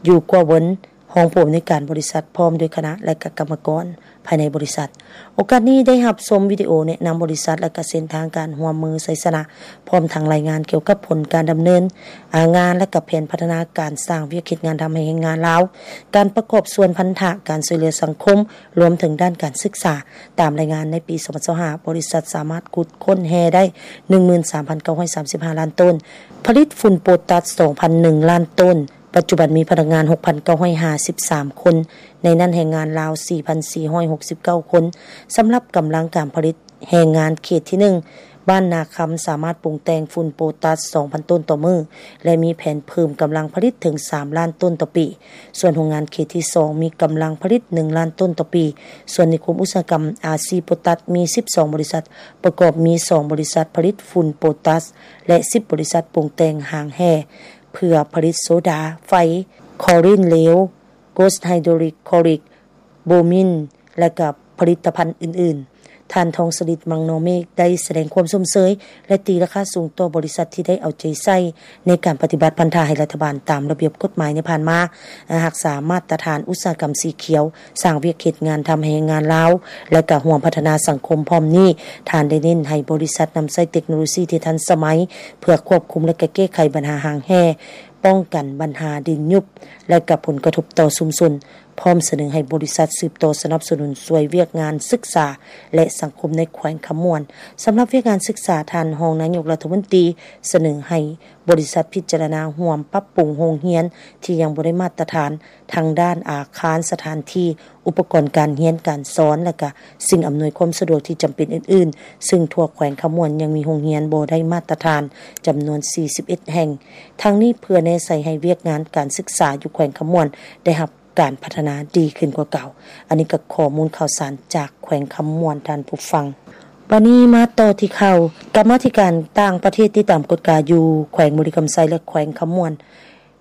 ຢູ່ ກົວເວີນ ຮອງຜູ້ອຳນວຍການບໍລິສັດ ພ້ອມດ້ວຍຄະນະ ແລະ ກະກຳມະກອນພາຍໃນບໍລິສັດ. ໂອກາດນີ້ໄດ້ຮັບຊົມວິດີໂອແນະນຳບໍລິສັດ ແລະ ກະເສັ້ນທາງການຮ່ວມມືໄຊຊະນະ, ພ້ອມທັງລາຍງານກ່ຽວກັບຜົນການດຳເນີນງານ ແລະ ກະແຜນພັດທະນາການສ້າງວຽກເຮັດງານທຳໃຫ້ແຮງງານລາວ, ການປະກອບສ່ວນພັນທະ, ການຊ່ວຍເຫຼືອສັງຄົມ, ລວມເຖິງດ້ານການສຶກສາ. ຕາມລາຍງານໃນປີສອງພັນຊາວຫ້າ ບໍລິສັດສາມາດຂຸດຄົ້ນແຮ່ໄດ້ໜຶ່ງໝື່ນສາມພັນເກົ້າຮ້ອຍສາມສິບຫ້າລ້ານໂຕນ, ຜະລິດຝຸ່ນໂປຕັສສອງພັນໜຶ່ງລ້ານໂຕນ, ປັດຈຸບັນມີພະນັກງານຫົກພັນເກົ້າຮ້ອຍຫ້າສິບສາມຄົນ, ໃນນັ້ນແຮງງານລາວສີ່ພັນສີ່ຮ້ອຍຫົກສິບເກົ້າຄົນ. ສຳລັບກຳລັງການຜະລິດ, ແຮງງານເຂດທີໜຶ່ງ ບ້ານນາຄຳ ສາມາດປຸງແຕ່ງຝຸ່ນໂປຕັສສອງພັນໂຕນຕໍ່ມື້ ແລະ ມີແຜນເພີ່ມກຳລັງຜະລິດເຖິງສາມລ້ານໂຕນຕໍ່ປີ. ສ່ວນໂຮງງານເຂດທີສອງ ມີກຳລັງຜະລິດໜຶ່ງລ້ານໂຕນຕໍ່ປີ. ສ່ວນນິຄົມອຸດສາຫະກຳ ອາຊີ ໂປຕັສ ມີສິບສອງບໍລິສັດ, ປະກອບມີສອງບໍລິສັດຜະລິດຝຸ່ນໂປຕັສ ແລະ ສິບບໍລິສັດປຸງແຕ່ງຮາງແຮ່ ເພື່ອຜະລິດໂຊດາໄຟ, ຄລໍຣິນເຫຼວ, ໂກສໄຮໂດຣິກຄລໍຣິກ, ໂບມິນ ແລະ ກະຜະລິດຕະພັນອື່ນໆ. ທ່ານ ທອງສະລິດ ມັງນໍເມກ ໄດ້ສະແດງຄວາມຊົມເຊີຍ ແລະ ຕີລາຄາສູງຕໍ່ບໍລິສັດທີ່ໄດ້ເອົາໃຈໃສ່ໃນການປະຕິບັດພັນທະໃຫ້ລັດຖະບານຕາມລະບຽບກົດໝາຍໃນຜ່ານມາ, ຮັກສາມາດຕະຖານອຸດສາຫະກຳສີຂຽວ, ສ້າງວຽກເຮັດງານທຳໃຫ້ແຮງງານລາວ ແລະ ກະຮ່ວມພັດທະນາສັງຄົມ. ພ້ອມນີ້, ທ່ານໄດ້ເນັ້ນໃຫ້ບໍລິສັດນຳໃຊ້ເຕັກໂນໂລຊີທີ່ທັນສະໄໝ ເພື່ອຄວບຄຸມ ແລະ ກະແກ້ໄຂບັນຫາຮາງແຮ່, ປ້ອງກັນບັນຫາດິນຍຸບ ແລະ ກະຜົນກະທົບຕໍ່ຊຸມຊົນ, ພ້ອມສະເໜີໃຫ້ບໍລິສັດສືບຕໍ່ສະໜັບສະໜູນຊ່ວຍວຽກງານສຶກສາ ແລະ ສັງຄົມໃນແຂວງຄຳມ່ວນ. ສຳລັບວຽກງານສຶກສາ, ທ່ານຮອງນາຍົກລັດຖະມົນຕີສະເໜີໃຫ້ບໍລິສັດພິຈາລະນາຮ່ວມປັບປຸງໂຮງຮຽນທີ່ຍັງບໍ່ໄດ້ມາດຕະຖານ ທັງດ້ານອາຄານ, ສະຖານທີ່, ອຸປະກອນການຮຽນການສອນ ແລະ ກະສິ່ງອຳນວຍຄວາມສະດວກທີ່ຈຳເປັນອື່ນໆ, ເຊິ່ງທົ່ວແຂວງຄຳມ່ວນຍັງມີໂຮງຮຽນບໍ່ໄດ້ມາດຕະຖານຈຳນວນສີ່ສິບເອັດແຫ່ງ. ທັງນີ້ເພື່ອແນໃສ່ໃຫ້ວຽກງານການສຶກສາຢູ່ແຂວງຄຳມ່ວນໄດ້ຮັບການພັດທະນາດີຂຶ້ນກວ່າເກົ່າ. ອັນນີ້ກໍຂໍ້ມູນຂ່າວສານຈາກແຂວງຄຳມ່ວນ, ທ່ານຜູ້ຟັງ. ບັດນີ້ມາຕໍ່ທີ່ຂ່າວ ກຳມາທິການຕ່າງປະເທດຕິດຕາມກວດກາຢູ່ແຂວງບໍລິຄຳໄຊ ແລະ ແຂວງຄຳມ່ວນ.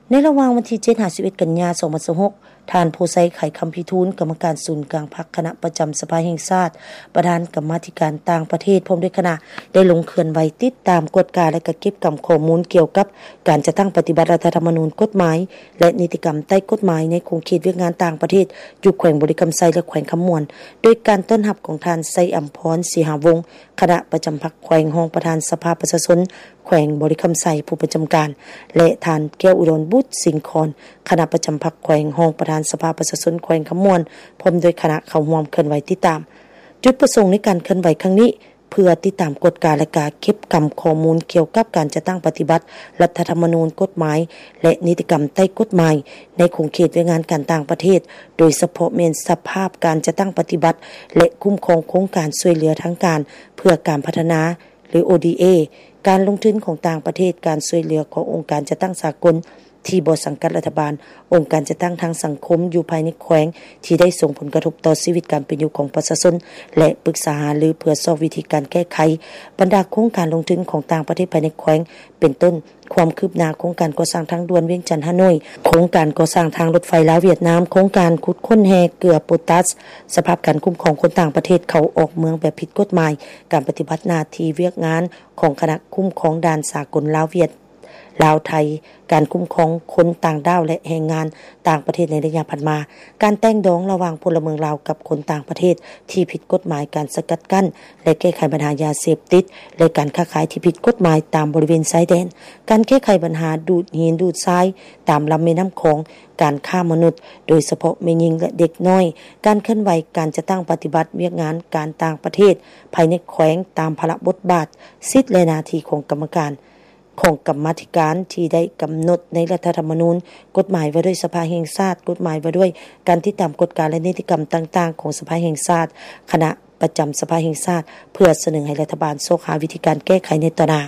ໃນລະຫວ່າງວັນທີເຈັດຫາສິບເອັດ ກັນຍາ ສອງພັນຊາວຫົກ, ທ່ານ ໂພໄຊ ໄຂຄຳພິທູນ ກຳມະການສູນກາງພັກ ຄະນະປະຈຳສະພາແຫ່ງຊາດ, ປະທານກຳມາທິການຕ່າງປະເທດ ພ້ອມດ້ວຍຄະນະ ໄດ້ລົງເຄື່ອນໄຫວຕິດຕາມ, ກວດກາ ແລະ ກະເກັບກຳຂໍ້ມູນກ່ຽວກັບການຈັດຕັ້ງປະຕິບັດລັດຖະທຳມະນູນ, ກົດໝາຍ ແລະ ນິຕິກຳໃຕ້ກົດໝາຍໃນຂົງເຂດວຽກງານຕ່າງປະເທດຢູ່ແຂວງບໍລິຄຳໄຊ ແລະ ແຂວງຄຳມ່ວນ, ໂດຍການຕ້ອນຮັບຂອງທ່ານ ໄຊອຳພອນ ສີຫາວົງ ຄະນະປະຈຳພັກແຂວງ, ຮອງປະທານສະພາປະຊາຊົນແຂວງບໍລິຄຳໄຊ ຜູ້ປະຈຳການ ແລະ ທ່ານ ແກ້ວອຸດອນ ບຸດສິງຄອນ ຄະນະປະຈຳພັກແຂວງ, ຮອງປະທານສະພາປະຊາຊົນແຂວງຄຳມ່ວນ ພ້ອມດ້ວຍຄະນະເຂົ້າຮ່ວມເຄື່ອນໄຫວຕິດຕາມ. ຈຸດປະສົງໃນການເຄື່ອນໄຫວຄັ້ງນີ້ ເພື່ອຕິດຕາມກວດກາ ແລະ ກາເກັບກຳຂໍ້ມູນກ່ຽວກັບການຈັດຕັ້ງປະຕິບັດລັດຖະທຳມະນູນ, ກົດໝາຍ ແລະ ນິຕິກຳໃຕ້ກົດໝາຍ ໃນຂົງເຂດວຽກງານການຕ່າງປະເທດ, ໂດຍສະເພາະແມ່ນສະພາບການຈັດຕັ້ງປະຕິບັດ ແລະ ຄຸ້ມຄອງໂຄງການຊ່ວຍເຫຼືອທາງການເພື່ອການພັດທະນາ ຫຼື ໂອດີເອ, ການລົງທຶນຂອງຕ່າງປະເທດ, ການຊ່ວຍເຫຼືອຂອງອົງການຈັດຕັ້ງສາກົນ ທີ່ບໍ່ສັງກັດລັດຖະບານ, ອົງການຈັດຕັ້ງທາງສັງຄົມຢູ່ພາຍໃນແຂວງ ທີ່ໄດ້ສົ່ງຜົນກະທົບຕໍ່ຊີວິດການເປັນຢູ່ຂອງປະຊາຊົນ ແລະ ປຶກສາຫາລືເພື່ອຊອກວິທີການແກ້ໄຂບັນດາໂຄງການລົງທຶນຂອງຕ່າງປະເທດພາຍໃນແຂວງ ເປັນຕົ້ນ ຄວາມຄືບໜ້າໂຄງການກໍ່ສ້າງທາງດ່ວນວຽງຈັນ-ຮ່າໂນ້ຍ, ໂຄງການກໍ່ສ້າງທາງລົດໄຟລາວ-ຫວຽດນາມ, ໂຄງການຂຸດຄົ້ນແຮ່ເກືອໂປຕັສ, ສະພາບການຄຸ້ມຄອງຄົນຕ່າງປະເທດເຂົ້າອອກເມືອງແບບຜິດກົດໝາຍ, ການປະຕິບັດໜ້າທີ່ວຽກງານຂອງຄະນະຄຸ້ມຄອງດ່ານສາກົນລາວ-ຫວຽດ ລາວ-ໄທ, ການຄຸ້ມຄອງຄົນຕ່າງດ້າວ ແລະ ແຮງງານຕ່າງປະເທດໃນໄລຍະຜ່ານມາ, ການແຕ່ງດອງລະຫວ່າງພົນລະເມືອງລາວກັບຄົນຕ່າງປະເທດທີ່ຜິດກົດໝາຍ, ການສະກັດກັ້ນ ແລະ ແກ້ໄຂບັນຫາຢາເສບຕິດ ແລະ ການຄ້າຂາຍທີ່ຜິດກົດໝາຍຕາມບໍລິເວນຊາຍແດນ, ການແກ້ໄຂບັນຫາດູດຫີນດູດຊາຍຕາມລຳແມ່ນ້ຳຂອງ, ການຄ້າມະນຸດ, ໂດຍສະເພາະແມ່ຍິງ ແລະ ເດັກນ້ອຍ, ການເຄື່ອນໄຫວການຈັດຕັ້ງປະຕິບັດວຽກງານການຕ່າງປະເທດພາຍໃນແຂວງຕາມພາລະບົດບາດ, ສິດ ແລະ ໜ້າທີ່ຂອງກຳມະການ ຂອງກຳມາທິການທີ່ໄດ້ກຳນົດໃນລັດຖະທຳມະນູນ, ກົດໝາຍວ່າດ້ວຍສະພາແຫ່ງຊາດ, ກົດໝາຍວ່າດ້ວຍການຕິດຕາມກວດກາ ແລະ ນິຕິກຳຕ່າງໆຂອງສະພາແຫ່ງຊາດ, ຄະນະປະຈຳສະພາແຫ່ງຊາດ ເພື່ອສະເໜີໃຫ້ລັດຖະບານຊອກຫາວິທີການແກ້ໄຂໃນຕໍ່ໜ້າ.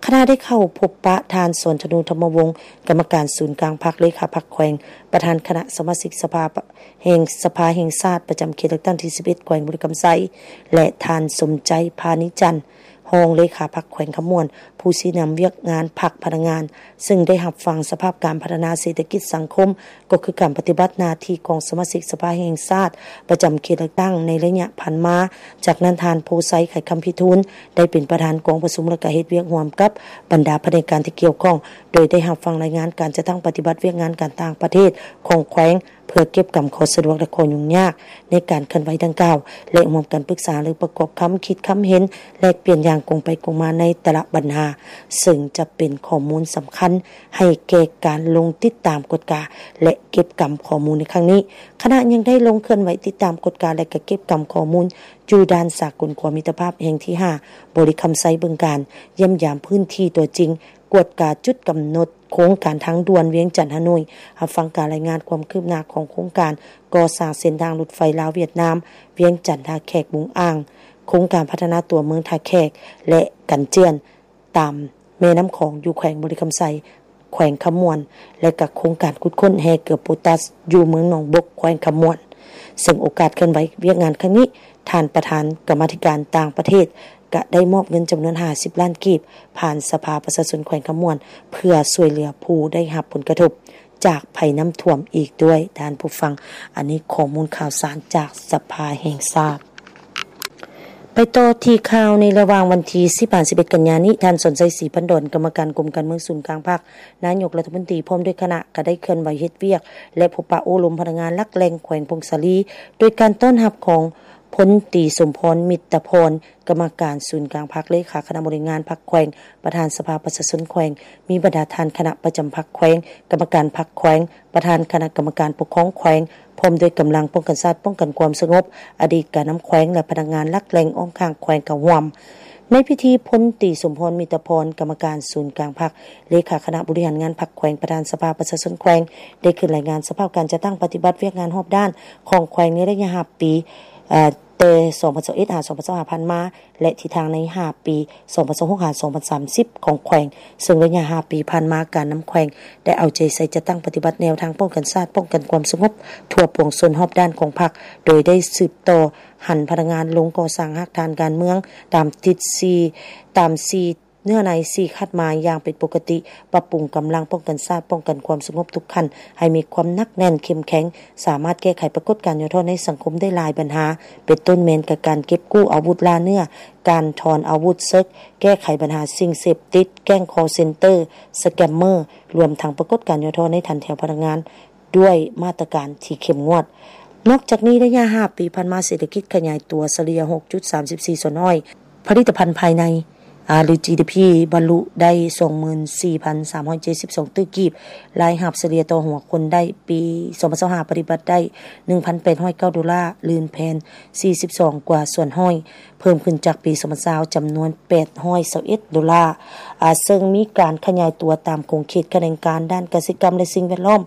ຄະນະໄດ້ເຂົ້າພົບປະທ່ານ ສອນທະນູ ທຳມະວົງ, ກຳມະການສູນກາງພັກ, ເລຂາພັກແຂວງ, ປະທານຄະນະສະມາຊິກສະພາແຫ່ງ ສະພາແຫ່ງຊາດ ປະຈຳເຂດເລືອກຕັ້ງທີສິບເອັດ ແຂວງບໍລິຄຳໄຊ ແລະ ທ່ານ ສົມໃຈ ພານິຈັນ ຮອງເລຂາພັກແຂວງຄຳມ່ວນ, ຜູ້ຊີ້ນຳວຽກງານພັກພະນັກງານ, ເຊິ່ງໄດ້ຮັບຟັງສະພາບການພັດທະນາເສດຖະກິດສັງຄົມ, ກໍຄືການປະຕິບັດໜ້າທີ່ຂອງສະມາຊິກສະພາແຫ່ງຊາດປະຈຳເຂດເລືອກຕັ້ງໃນໄລຍະຜ່ານມາ. ຈາກນັ້ນ ທ່ານ ໂພໄຊ ໄຂຄຳພິທູນ ໄດ້ເປັນປະທານກອງປະຊຸມ ແລະ ກະເຮັດວຽກຮ່ວມກັບບັນດາພະແນກການທີ່ກ່ຽວຂ້ອງ, ໂດຍໄດ້ຮັບຟັງລາຍງານການຈັດຕັ້ງປະຕິບັດວຽກງານການຕ່າງປະເທດຂອງແຂວງ ເພື່ອເກັບກຳຂໍ້ສະດວກ ແລະ ຂໍ້ຫຍຸ້ງຍາກໃນການເຄື່ອນໄຫວດັ່ງກ່າວ ແລະ ຮ່ວມກັນປຶກສາ ຫຼື ປະກອບຄຳຄິດຄຳເຫັນ ແລກປ່ຽນຢ່າງກົງໄປກົງມາໃນແຕ່ລະບັນຫາ, ເຊິ່ງຈະເປັນຂໍ້ມູນສຳຄັນໃຫ້ແກ່ການລົງຕິດຕາມກວດກາ ແລະ ເກັບກຳຂໍ້ມູນໃນຄັ້ງນີ້. ຄະນະຍັງໄດ້ລົງເຄື່ອນໄຫວຕິດຕາມກວດກາ ແລະ ກະເກັບກຳຂໍ້ມູນຢູ່ດ່ານສາກົນຂົວມິດຕະພາບແຫ່ງທີຫ້າ ບໍລິຄຳໄຊ ບຶງການ, ຢ້ຽມຢາມພື້ນທີ່ຕົວຈິງ, ກວດກາຈຸດກຳນົດໂຄງການທາງດ່ວນວຽງຈັນ-ຮ່າໂນ້ຍ, ຮັບຟັງການລາຍງານຄວາມຄືບໜ້າຂອງໂຄງການກໍ່ສ້າງເສັ້ນທາງລົດໄຟລາວ-ຫວຽດນາມ ວຽງຈັນ-ທ່າແຂກ-ບຸງອ່າງ, ໂຄງການພັດທະນາຕົວເມືອງທ່າແຂກ ແລະ ກັນເຈື່ອນຕາມແມ່ນ້ຳຂອງຢູ່ແຂວງບໍລິຄຳໄຊ, ແຂວງຄຳມ່ວນ ແລະ ກະໂຄງການຂຸດຄົ້ນແຮ່ເກືອໂປຕັສຢູ່ເມືອງໜອງບົກ ແຂວງຄຳມ່ວນ. ເຊິ່ງໂອກາດເຄື່ອນໄຫວວຽກງານຄັ້ງນີ້, ທ່ານປະທານກຳມາທິການຕ່າງປະເທດ ກະໄດ້ມອບເງິນຈຳນວນຫ້າສິບລ້ານກີບ ຜ່ານສະພາປະຊາຊົນແຂວງຄຳມ່ວນ ເພື່ອຊ່ວຍເຫຼືອຜູ້ໄດ້ຮັບຜົນກະທົບຈາກໄພນ້ຳຖ້ວມອີກດ້ວຍ. ທ່ານຜູ້ຟັງ, ອັນນີ້ຂໍ້ມູນຂ່າວສານຈາກສະພາແຫ່ງຊາດ. ໄປຕໍ່ທີ່ຂ່າວໃນລະຫວ່າງວັນທີສິບຫາສິບເອັດກັນຍານີ້, ທ່ານ ສອນໄຊ ສີພັນດອນ ກຳມະການກົມການເມືອງສູນກາງພັກ, ນາຍົກລັດຖະມົນຕີ ພ້ອມດ້ວຍຄະນະ ກະໄດ້ເຄື່ອນໄຫວເຮັດວຽກ ແລະ ພົບປະໂອ້ລົມພະນັກງານຫຼັກແຫຼ່ງແຂວງຜົ້ງສາລີ ໂດຍການຕ້ອນຮັບຂອງ ພົນຕີ ສົມພອນ ມິດຕະພອນ ກຳມະການສູນກາງພັກ, ເລຂາຄະນະບໍລິຫານງານພັກແຂວງ, ປະທານສະພາປະຊາຊົນແຂວງ, ມີບັນດາທ່ານຄະນະປະຈຳພັກແຂວງ, ກຳມະການພັກແຂວງ, ປະທານຄະນະກຳມະການປົກຄອງແຂວງ, ພ້ອມດ້ວຍກຳລັງປ້ອງກັນຊາດ, ປ້ອງກັນຄວາມສະຫງົບ, ອະດີດການນຳແຂວງ ແລະ ພະນັກງານຫຼັກແຫຼ່ງອ້ອມຂ້າງແຂວງເຂົ້າຮ່ວມ. ໃນພິທີ, ພົນຕີ ສົມພອນ ມິດຕະພອນ ກຳມະການສູນກາງພັກ, ເລຂາຄະນະບໍລິຫານງານພັກແຂວງ, ປະທານສະພາປະຊາຊົນແຂວງ ໄດ້ຂຶ້ນລາຍງານສະພາບການຈັດຕັ້ງປະຕິບັດວຽກງານຮອບດ້ານຂອງແຂວງໃນໄລຍະຫ້າປີ, ເອີ ແຕ່ ສອງພັນຊາວເອັດ ຫາ ສອງພັນຊາວຫ້າ ຜ່ານມາ ແລະ ທິດທາງໃນຫ້າປີ ສອງພັນຊາວຫົກ ຫາ ສອງພັນສາມສິບ ຂອງແຂວງ, ເຊິ່ງໄລຍະຫ້າປີຜ່ານມາ ການນຳແຂວງໄດ້ເອົາໃຈໃສ່ຈັດຕັ້ງປະຕິບັດແນວທາງປ້ອງກັນຊາດ, ປ້ອງກັນຄວາມສະຫງົບທົ່ວປວງຊົນຮອບດ້ານຂອງພັກ, ໂດຍໄດ້ສືບຕໍ່ຫັນພະນັກງານລົງກໍ່ສ້າງຮາກຖານການເມືອງຕາມຕິດສີ່ ຕາມສີ່ ເນື້ອໃນສີ່ຄາດໝາຍຢ່າງເປັນປົກກະຕິ, ປັບປຸງກຳລັງປ້ອງກັນຊາດ, ປ້ອງກັນຄວາມສະຫງົບທຸກຂັ້ນໃຫ້ມີຄວາມໜັກແໜ້ນເຂັ້ມແຂງ, ສາມາດແກ້ໄຂປາກົດການຫຍໍ້ທໍ້ໃນສັງຄົມໄດ້ຫຼາຍບັນຫາ, ເປັນຕົ້ນແມ່ນການເກັບກູ້ອາວຸດລ່າເນື້ອ, ການຖອນອາວຸດເສິກ, ແກ້ໄຂບັນຫາສິ່ງເສບຕິດ, ແກ້ງຄໍເຊັນເຕີ, ສະແກມເມີ, ລວມທັງປາກົດການຫຍໍ້ທໍ້ໃນຖັນແຖວພະນັກງານ ດ້ວຍມາດຕະການທີ່ເຂັ້ມງວດ. ນອກຈາກນີ້, ໄລຍະຫ້າປີຜ່ານມາ, ເສດຖະກິດຂະຫຍາຍຕົວສະເລ່ຍ ຫົກຈຸດສາມສິບສີ່ສ່ວນຮ້ອຍ, ຜະລິດຕະພັນພາຍໃນ ອາ ຫຼື ຈີດີພີ ບັນລຸໄດ້ ສອງໝື່ນສີ່ພັນສາມຮ້ອຍເຈັດສິບສອງຕື້ກີບ, ລາຍຮັບສະເລ່ຍຕໍ່ຫົວຄົນໄດ້ ປີສອງພັນຊາວຫ້າ ປະຕິບັດໄດ້ ໜຶ່ງພັນແປດຮ້ອຍເກົ້າໂດລາ, ລື່ນແພນສີ່ສິບສອງກວ່າສ່ວນຮ້ອຍ, ເພີ່ມຂຶ້ນຈາກປີສອງພັນຊາວ ຈຳນວນແປດຮ້ອຍຊາວເອັດໂດລາ, ອາ ເຊິ່ງມີການຂະຫຍາຍຕົວຕາມຂົງເຂດຂະແໜງການດ້ານກະສິກຳ ແລະ ສິ່ງແວດລ້ອມ,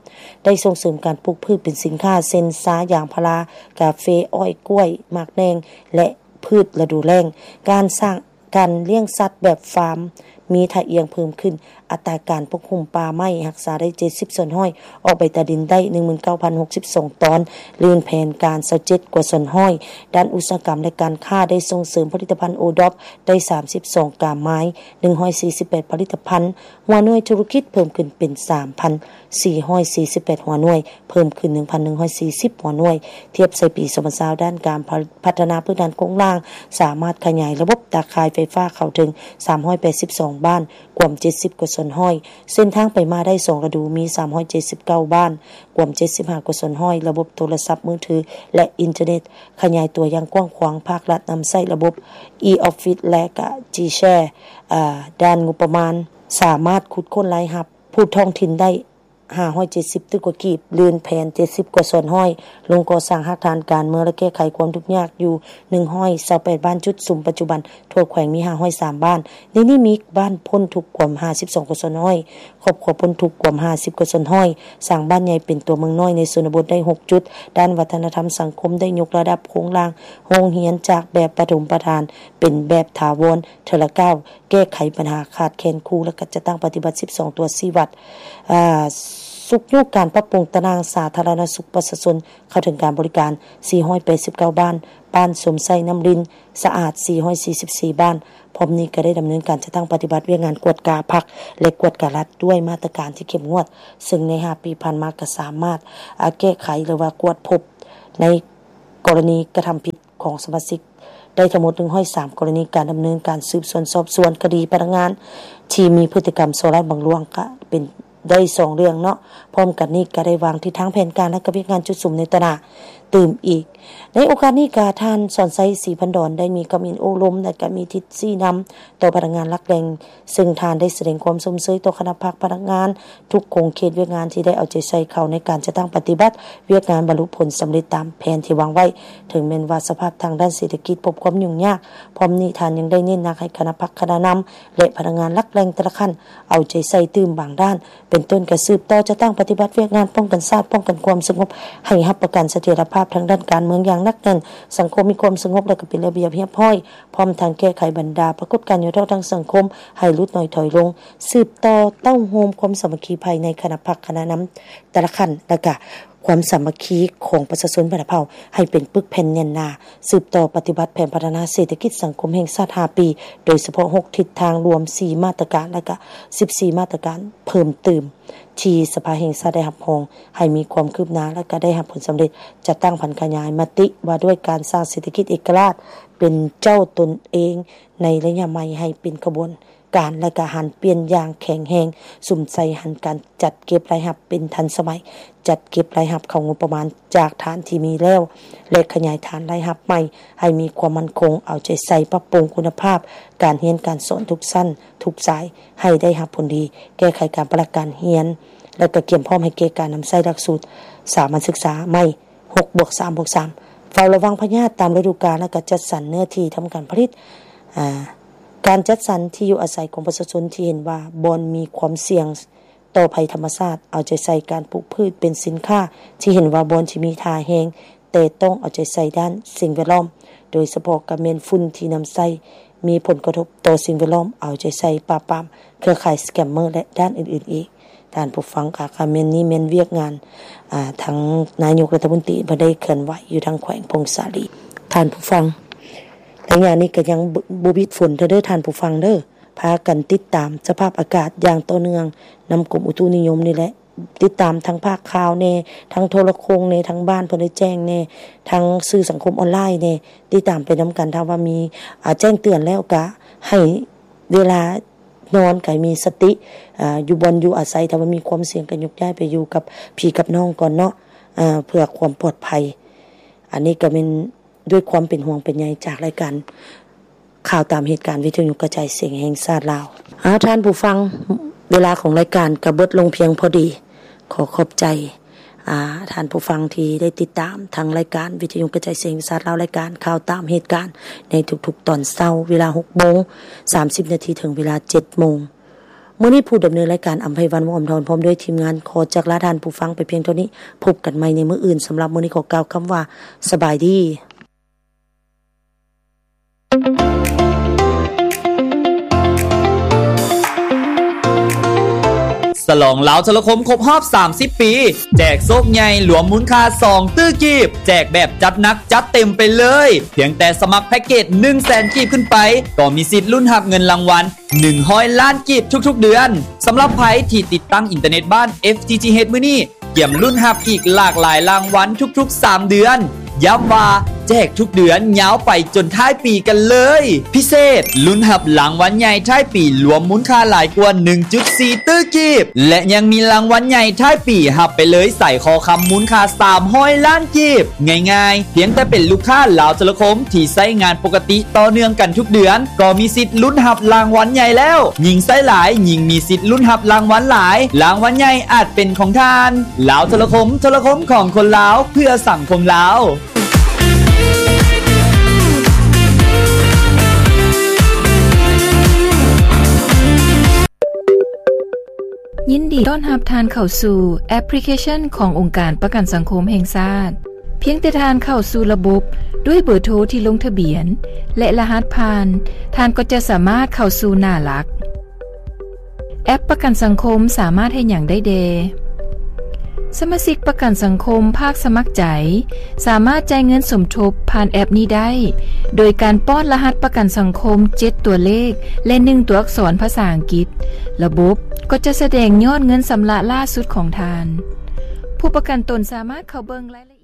ໄດ້ສົ່ງເສີມການປູກພືດເປັນສິນຄ້າ ເຊັ່ນ ຊາ, ຢາງພາລາ, ກາເຟ, ອ້ອຍ, ກ້ວຍ, ໝາກແໜ່ງ ແລະ ພືດລະດູແລ້ງ, ການສ້າງ ການລ້ຽງສັດແບບຟາມມີທ່າອ່ຽງເພີ່ມຂຶ້ນ, ອັດຕາການປົກຫຸ້ມປ່າໄມ້ຮັກສາໄດ້ເຈັດສິບສ່ວນຮ້ອຍ, ອອກໃບຕາດິນໄດ້ໜຶ່ງໝື່ນເກົ້າພັນຫົກສິບສອງຕອນ, ລື່ນແຜນການຊາວເຈັດກວ່າສ່ວນຮ້ອຍ, ດ້ານອຸດສາຫະກຳ ແລະ ການຄ້າໄດ້ສົ່ງເສີມຜະລິດຕະພັນໂອດອບໄດ້ສາມສິບສອງກາມາຍ, ໜຶ່ງຮ້ອຍສີ່ສິບແປດຜະລິດຕະພັນ, ຫົວໜ່ວຍທຸລະກິດເພີ່ມຂຶ້ນເປັນສາມພັນສີ່ຮ້ອຍສີ່ສິບແປດຫົວໜ່ວຍ, ເພີ່ມຂຶ້ນໜຶ່ງພັນໜຶ່ງຮ້ອຍສີ່ສິບຫົວໜ່ວຍ, ທຽບໃສ່ປີສອງພັນຊາວ ດ້ານການພັດທະນາພື້ນຖານໂຄງລ່າງ ສາມາດຂະຫຍາຍລະບົບຕາຂ່າຍໄຟຟ້າເຂົ້າເຖິງສາມຮ້ອຍແປດສິບສອງບ້ານ, ກວມເຈັດສິບກວ່າສ່ວນຮ້ອຍ, ເສັ້ນທາງໄປມາໄດ້ສອງລະດູ ມີສາມຮ້ອຍເຈັດສິບເກົ້າບ້ານ, ກວມເຈັດສິບຫ້າກວ່າສ່ວນຮ້ອຍ, ລະບົບໂທລະສັບມືຖື ແລະ ອິນເຕີເນັດຂະຫຍາຍຕົວຢ່າງກວ້າງຂວາງ, ພາກລັດນຳໃຊ້ລະບົບ e-office ແລະ ກະ G-Share. ອາ ດ້ານງົບປະມານ ສາມາດຂຸດຄົ້ນລາຍຮັບຜູ້ທ້ອງຖິ່ນໄດ້ ຫ້າຮ້ອຍເຈັດສິບຕື້ກວ່າກີບ, ລື່ນແຜນເຈັດສິບກວ່າສ່ວນຮ້ອຍ, ລົງກໍ່ສ້າງຮາກຖານການເມືອງ ແລະ ແກ້ໄຂຄວາມທຸກຍາກຢູ່ໜຶ່ງຮ້ອຍຊາວແປດບ້ານຈຸດສຸມ, ປັດຈຸບັນທົ່ວແຂວງມີຫ້າຮ້ອຍສາມບ້ານ, ໃນນີ້ມີບ້ານພົ້ນທຸກກວ່າຫ້າສິບສອງກວ່າສ່ວນຮ້ອຍ, ຄອບຄົວພົ້ນທຸກກວ່າຫ້າສິບກວ່າສ່ວນຮ້ອຍ, ສ້າງບ້ານໃຫຍ່ເປັນຕົວເມືອງນ້ອຍໃນຊົນນະບົດໄດ້ຫົກຈຸດ, ດ້ານວັດທະນະທຳສັງຄົມໄດ້ຍົກລະດັບໂຄງລ່າງໂຮງຮຽນຈາກແບບປະຖົມປະຖານເປັນແບບຖາວອນເທື່ອລະກ້າວ, ແກ້ໄຂບັນຫາຂາດແຄນຄູ ແລະ ກະຈັດຕັ້ງປະຕິບັດສິບສອງຕົວຊີ້ວັດ, ອາ ຊຸກຍູ້ການປັບປຸງຕາໜ່າງສາທາລະນະສຸກປະຊາຊົນເຂົ້າເຖິງການບໍລິການສີ່ຮ້ອຍແປດສິບເກົ້າບ້ານ, ບ້ານຊົມໃຊ້ນ້ຳລິນສະອາດສີ່ຮ້ອຍສີ່ສິບສີ່ບ້ານ. ພ້ອມນີ້ກໍໄດ້ດຳເນີນການຈັດຕັ້ງປະຕິບັດວຽກງານກວດກາພັກ ແລະ ກວດກາລັດດ້ວຍມາດຕະການທີ່ເຂັ້ມງວດ, ເຊິ່ງໃນຫ້າປີຜ່ານມາກໍສາມາດ ອາ ແກ້ໄຂ ຫຼືວ່າກວດພົບໃນກໍລະນີກະທຳຜິດ ຂອງສະມາຊິກໄດ້ທັງໝົດໜຶ່ງຮ້ອຍສາມກໍລະນີ, ການດຳເນີນການສືບສວນສອບສວນຄະດີພະນັກງານທີ່ມີພຶດຕິກຳສໍ້ລາດບັງຫຼວງກະເປັນໄດ້ສອງເລື່ອງເນາະ. ພ້ອມກັນນີ້ກະໄດ້ວາງທິດທາງແຜນການ ແລະ ກະວຽກງານຈຸດສຸມໃນຕະໜາຕື່ມອີກ. ໃນໂອກາດນີ້ກະທ່ານ ສອນໄຊ ສີພັນດອນ ໄດ້ມີຄຳເຫັນໂອ້ລົມ ແລະ ກະມີທິດຊີ້ນຳຕໍ່ພະນັກງານຫຼັກແຫຼ່ງ, ເຊິ່ງທ່ານໄດ້ສະແດງຄວາມຊົມເຊີຍຕໍ່ຄະນະພັກພະນັກງານ ທຸກຂົງເຂດວຽກງານທີ່ໄດ້ເອົາໃຈໃສ່ເຂົ້າໃນການຈັດຕັ້ງປະຕິບັດວຽກງານ ບັນລຸຜົນສຳເລັດຕາມແຜນທີ່ວາງໄວ້, ເຖິງແມ່ນວ່າສະພາບທາງດ້ານເສດຖະກິດພົບຄວາມຫຍຸ້ງຍາກ. ພ້ອມນີ້ທ່ານຍັງໄດ້ເນັ້ນໜັກໃຫ້ຄະນະພັກຄະນະນຳ ແລະ ພະນັກງານຫຼັກແຫຼ່ງແຕ່ລະຂັ້ນເອົາໃຈໃສ່ຕື່ມບາງດ້ານ, ເປັນຕົ້ນກະສືບຕໍ່ຈັດຕັ້ງປະຕິບັດວຽກງານປ້ອງກັນຊາດ, ປ້ອງກັນຄວາມສະຫງົບ, ໃຫ້ຮັບປະກັນສະຖຽນລະພາບທາງດ້ານການເມືອງຢ່າງໜັກແໜ້ນ, ສັງຄົມມີຄວາມສະຫງົບ ແລະ ກະເປັນລະບຽບຮຽບຮ້ອຍ, ພ້ອມທັງແກ້ໄຂບັນດາປາກົດການຫຍໍ້ທໍ້ທາງສັງຄົມໃຫ້ຫຼຸດໜ້ອຍຖອຍລົງ. ສືບຕໍ່ເຕົ້າໂຮມຄວາມສາມັກຄີພາຍໃນຄະນະພັກຄະນະນຳແຕ່ລະຂັ້ນ ແລະ ກະຄວາມສາມັກຄີຂອງປະຊາຊົນບັນດາເຜົ່າໃຫ້ເປັນປຶກແຜ່ນແໜ້ນໜາ, ສືບຕໍ່ປະຕິບັດແຜນພັດທະນາເສດຖະກິດສັງຄົມແຫ່ງຊາດຫ້າປີ, ໂດຍສະເພາະຫົກທິດທາງລວມ, ສີ່ມາດຕະການ ແລະ ກະສິບສີ່ມາດຕະການເພີ່ມຕື່ມ ທີ່ສະພາແຫ່ງຊາດໄດ້ຮັບຮອງໃຫ້ມີຄວາມຄືບໜ້າ ແລະ ກະໄດ້ຮັບຜົນສຳເລັດ, ຈັດຕັ້ງຜັນຂະຫຍາຍມະຕິວ່າດ້ວຍການສ້າງເສດຖະກິດເອກະລາດເປັນເຈົ້າຕົນເອງໃນໄລຍະໃໝ່ໃຫ້ເປັນຂະບວນ ການ ແລະ ກະຫັນປ່ຽນຢ່າງແຂງແຮງ, ສຸມໃສ່ຫັນການຈັດເກັບລາຍຮັບເປັນທັນສະໄໝ, ຈັດເກັບລາຍຮັບເຂົ້າງົບປະມານຈາກຖານທີ່ມີແລ້ວ ແລະ ຂະຫຍາຍຖານລາຍຮັບໃໝ່ໃຫ້ມີຄວາມໝັ້ນຄົງ, ເອົາໃຈໃສ່ປັບປຸງຄຸນນະພາບການຮຽນການສອນທຸກຊັ້ນທຸກສາຍໃຫ້ໄດ້ຮັບຜົນດີ, ແກ້ໄຂການປະລັກການຮຽນ ແລະ ກະກຽມພ້ອມໃຫ້ແກ່ການນຳໃຊ້ຫຼັກສູດສາມັນສຶກສາໃໝ່ ຫົກບວກສາມບວກສາມ ເຝົ້າລະວັງພະຍາດຕາມລະດູການ ແລະ ກະຈັດສັນເນື້ອທີ່ທຳການຜະລິດ. ອາ ການຈັດສັນທີ່ຢູ່ອາໄສຂອງປະຊາຊົນທີ່ເຫັນວ່າບ່ອນມີຄວາມສ່ຽງຕໍ່ໄພທຳມະຊາດ, ເອົາໃຈໃສ່ການປູກພືດເປັນສິນຄ້າທີ່ເຫັນວ່າບ່ອນທີ່ມີທ່າແຮງ, ແຕ່ຕ້ອງເອົາໃຈໃສ່ດ້ານສິ່ງແວດລ້ອມ, ໂດຍສະເພາະກະແມ່ນຝຸ່ນທີ່ນຳໃຊ້ ມີຜົນກະທົບຕໍ່ສິ່ງແວດລ້ອມ, ເອົາໃຈໃສ່ປາບປາມເຄືອຂ່າຍສະແກມເມີ ແລະ ດ້ານອື່ນໆອີກ. ທ່ານຜູ້ຟັງ ກະ ກະແມ່ນນີ້ແມ່ນວຽກງານ ອາ ທາງນາຍົກລັດຖະມົນຕີເພິ່ນໄດ້ເຄື່ອນໄຫວຢູ່ທາງແຂວງຜົ້ງສາລີ. ທ່ານຜູ້ຟັງ ໄລຍະນີ້ກະຍັງບໍ່ ບໍ່ຢຸດຝົນເທື່ອເດີທ່ານຜູ້ຟັງເດີ, ພາກັນຕິດຕາມສະພາບອາກາດຢ່າງຕໍ່ເນື່ອງນຳກົມອຸຕຸນິຍົມນີ້ແຫຼະ. ຕິດຕາມທາງພາກຂ່າວແດ່, ທາງໂທລະໂຄ່ງແດ່, ທາງບ້ານເພິ່ນໄດ້ແຈ້ງແດ່, ທາງສື່ສັງຄົມອອນລາຍແດ່, ຕິດຕາມໄປນຳກັນ. ຖ້າວ່າມີ ອາ ແຈ້ງເຕືອນແລ້ວກະໃຫ້ເວລານອນກະໃຫ້ມີສະຕິ, ອາ ຢູ່ບ່ອນຢູ່ອາໄສ, ຖ້າວ່າມີຄວາມສ່ຽງກະຍົກຍ້າຍໄປຢູ່ກັບພີ່ກັບນ້ອງກ່ອນເນາະ, ອາ ເພື່ອຄວາມປອດໄພ. ອັນນີ້ກະແມ່ນ ດ້ວຍຄວາມເປັນຫ່ວງເປັນໃຍຈາກລາຍການ ຂ່າວຕາມເຫດການ ວິທະຍຸກະຈາຍສຽງແຫ່ງຊາດລາວ. ເອົາ ທ່ານຜູ້ຟັງ, ເວລາຂອງລາຍການກໍເບິດລົງພຽງພໍດີ. ຂໍຂອບໃຈ ອາ ທ່ານຜູ້ຟັງທີ່ໄດ້ຕິດຕາມທາງລາຍການວິທະຍຸກະຈາຍສຽງແຫ່ງຊາດລາວ, ລາຍການຂ່າວຕາມເຫດການໃນທຸກໆຕອນເຊົ້າ ເວລາຫົກໂມງສາມສິບນາທີ ເຖິງເວລາເຈັດໂມງ. ມື້ນີ້ຜູ້ດຳເນີນລາຍການ ອຳໄພວັນ ວົງອຳທອນ ພ້ອມດ້ວຍທີມງານ ຂໍຈາກລາທ່ານຜູ້ຟັງໄປພຽງເທົ່ານີ້. ພົບກັນໃໝ່ໃນມື້ອື່ນ. ສຳລັບມື້ນີ້ ຂໍກ່າວຄຳວ່າ ສະບາຍດີ. ສະຫຼອງລາວໂທລະຄົມຄົບຮອບສາມສິບປີ ແຈກໂຊກໃຫຍ່ລວມມູນຄ່າສອງຕື້ກີບ, ແຈກແບບຈັດໜັກຈັດເຕັມໄປເລີຍ. ພຽງແຕ່ສະໝັກແພັກເກດໜຶ່ງແສນກີບຂຶ້ນໄປ ກໍມີສິດລຸ້ນຮັບເງິນລາງວັນ ໜຶ່ງຮ້ອຍລ້ານກີບທຸກໆເດືອນ. ສຳລັບໃຜທີ່ຕິດຕັ້ງອິນເຕີເນັດບ້ານ ເອັຟທີທີເອັດ ມື້ນີ້ ກຽມລຸ້ນຮັບອີກຫຼາກຫຼາຍລາງວັນທຸກໆສາມເດືອນ. ຢ້ຳວ່າແຈກທຸກເດືອນຍາວໄປຈົນທ້າຍປີກັນເລີຍ. ພິເສດ, ລຸ້ນຮັບລາງວັນໃຫຍ່ທ້າຍປີລວມມູນຄ່າຫຼາຍກວ່າໜຶ່ງຈຸດສີ່ຕື້ກີບ ແລະ ຍັງມີລາງວັນໃຫຍ່ທ້າຍປີ ຮັບໄປເລີຍສາຍຄໍຄຳມູນຄ່າສາມຮ້ອຍລ້ານ ກີບ. ງ່າຍໆ, ພຽງແຕ່ເປັນລູກຄ້າລາວໂທລະຄົມທີ່ໃຊ້ງານປົກກະຕິຕໍ່ເນື່ອງກັນທຸກເດືອນ ກໍມີສິດລຸ້ນຮັບລາງວັນໃຫຍ່ແລ້ວ. ຍິ່ງໃຊ້ຫຼາຍ, ຍິ່ງມີສິດລຸ້ນຮັບລາງວັນຫຼາຍ. ລາງວັນໃຫຍ່ອາດເປັນຂອງທ່ານ. ລາວໂທລະຄົມ, ໂທລະຄົມຂອງຄົນລາວ, ເພື່ອສັງຄົມລາວ. ຍິນດີຕ້ອນຮັບທ່ານເຂົ້າສູ່ແອັບພລິເຄຊັນຂອງອົງການປະກັນສັງຄົມແຫ່ງຊາດ. ພຽງແຕ່ທ່ານເຂົ້າສູ່ລະບົບດ້ວຍເບີໂທທີ່ລົງທະບຽນ ແລະ ລະຫັດຜ່ານ, ທ່ານກໍຈະສາມາດເຂົ້າສູ່ໜ້າຫຼັກ. ແອັບປະກັນສັງຄົມສາມາດເຮັດຫຍັງໄດ້ແດ່? ສະມາຊິກປະກັນສັງຄົມພາກສະໝັກໃຈ ສາມາດຈ່າຍເງິນສົມທົບຜ່ານແອັບນີ້ໄດ້ ໂດຍການປ້ອນລະຫັດປະກັນສັງຄົມເຈັດຕົວເລກ ແລະ ໜຶ່ງຕົວອັກສອນພາສາອັງກິດ. ລະບົບກໍຈະສະແດງຍອດເງິນຊຳລະລ່າສຸດຂອງທ່ານ. ຜູ້ປະກັນຕົນສາມາດເຂົ້າເບິ່ງລາຍລະ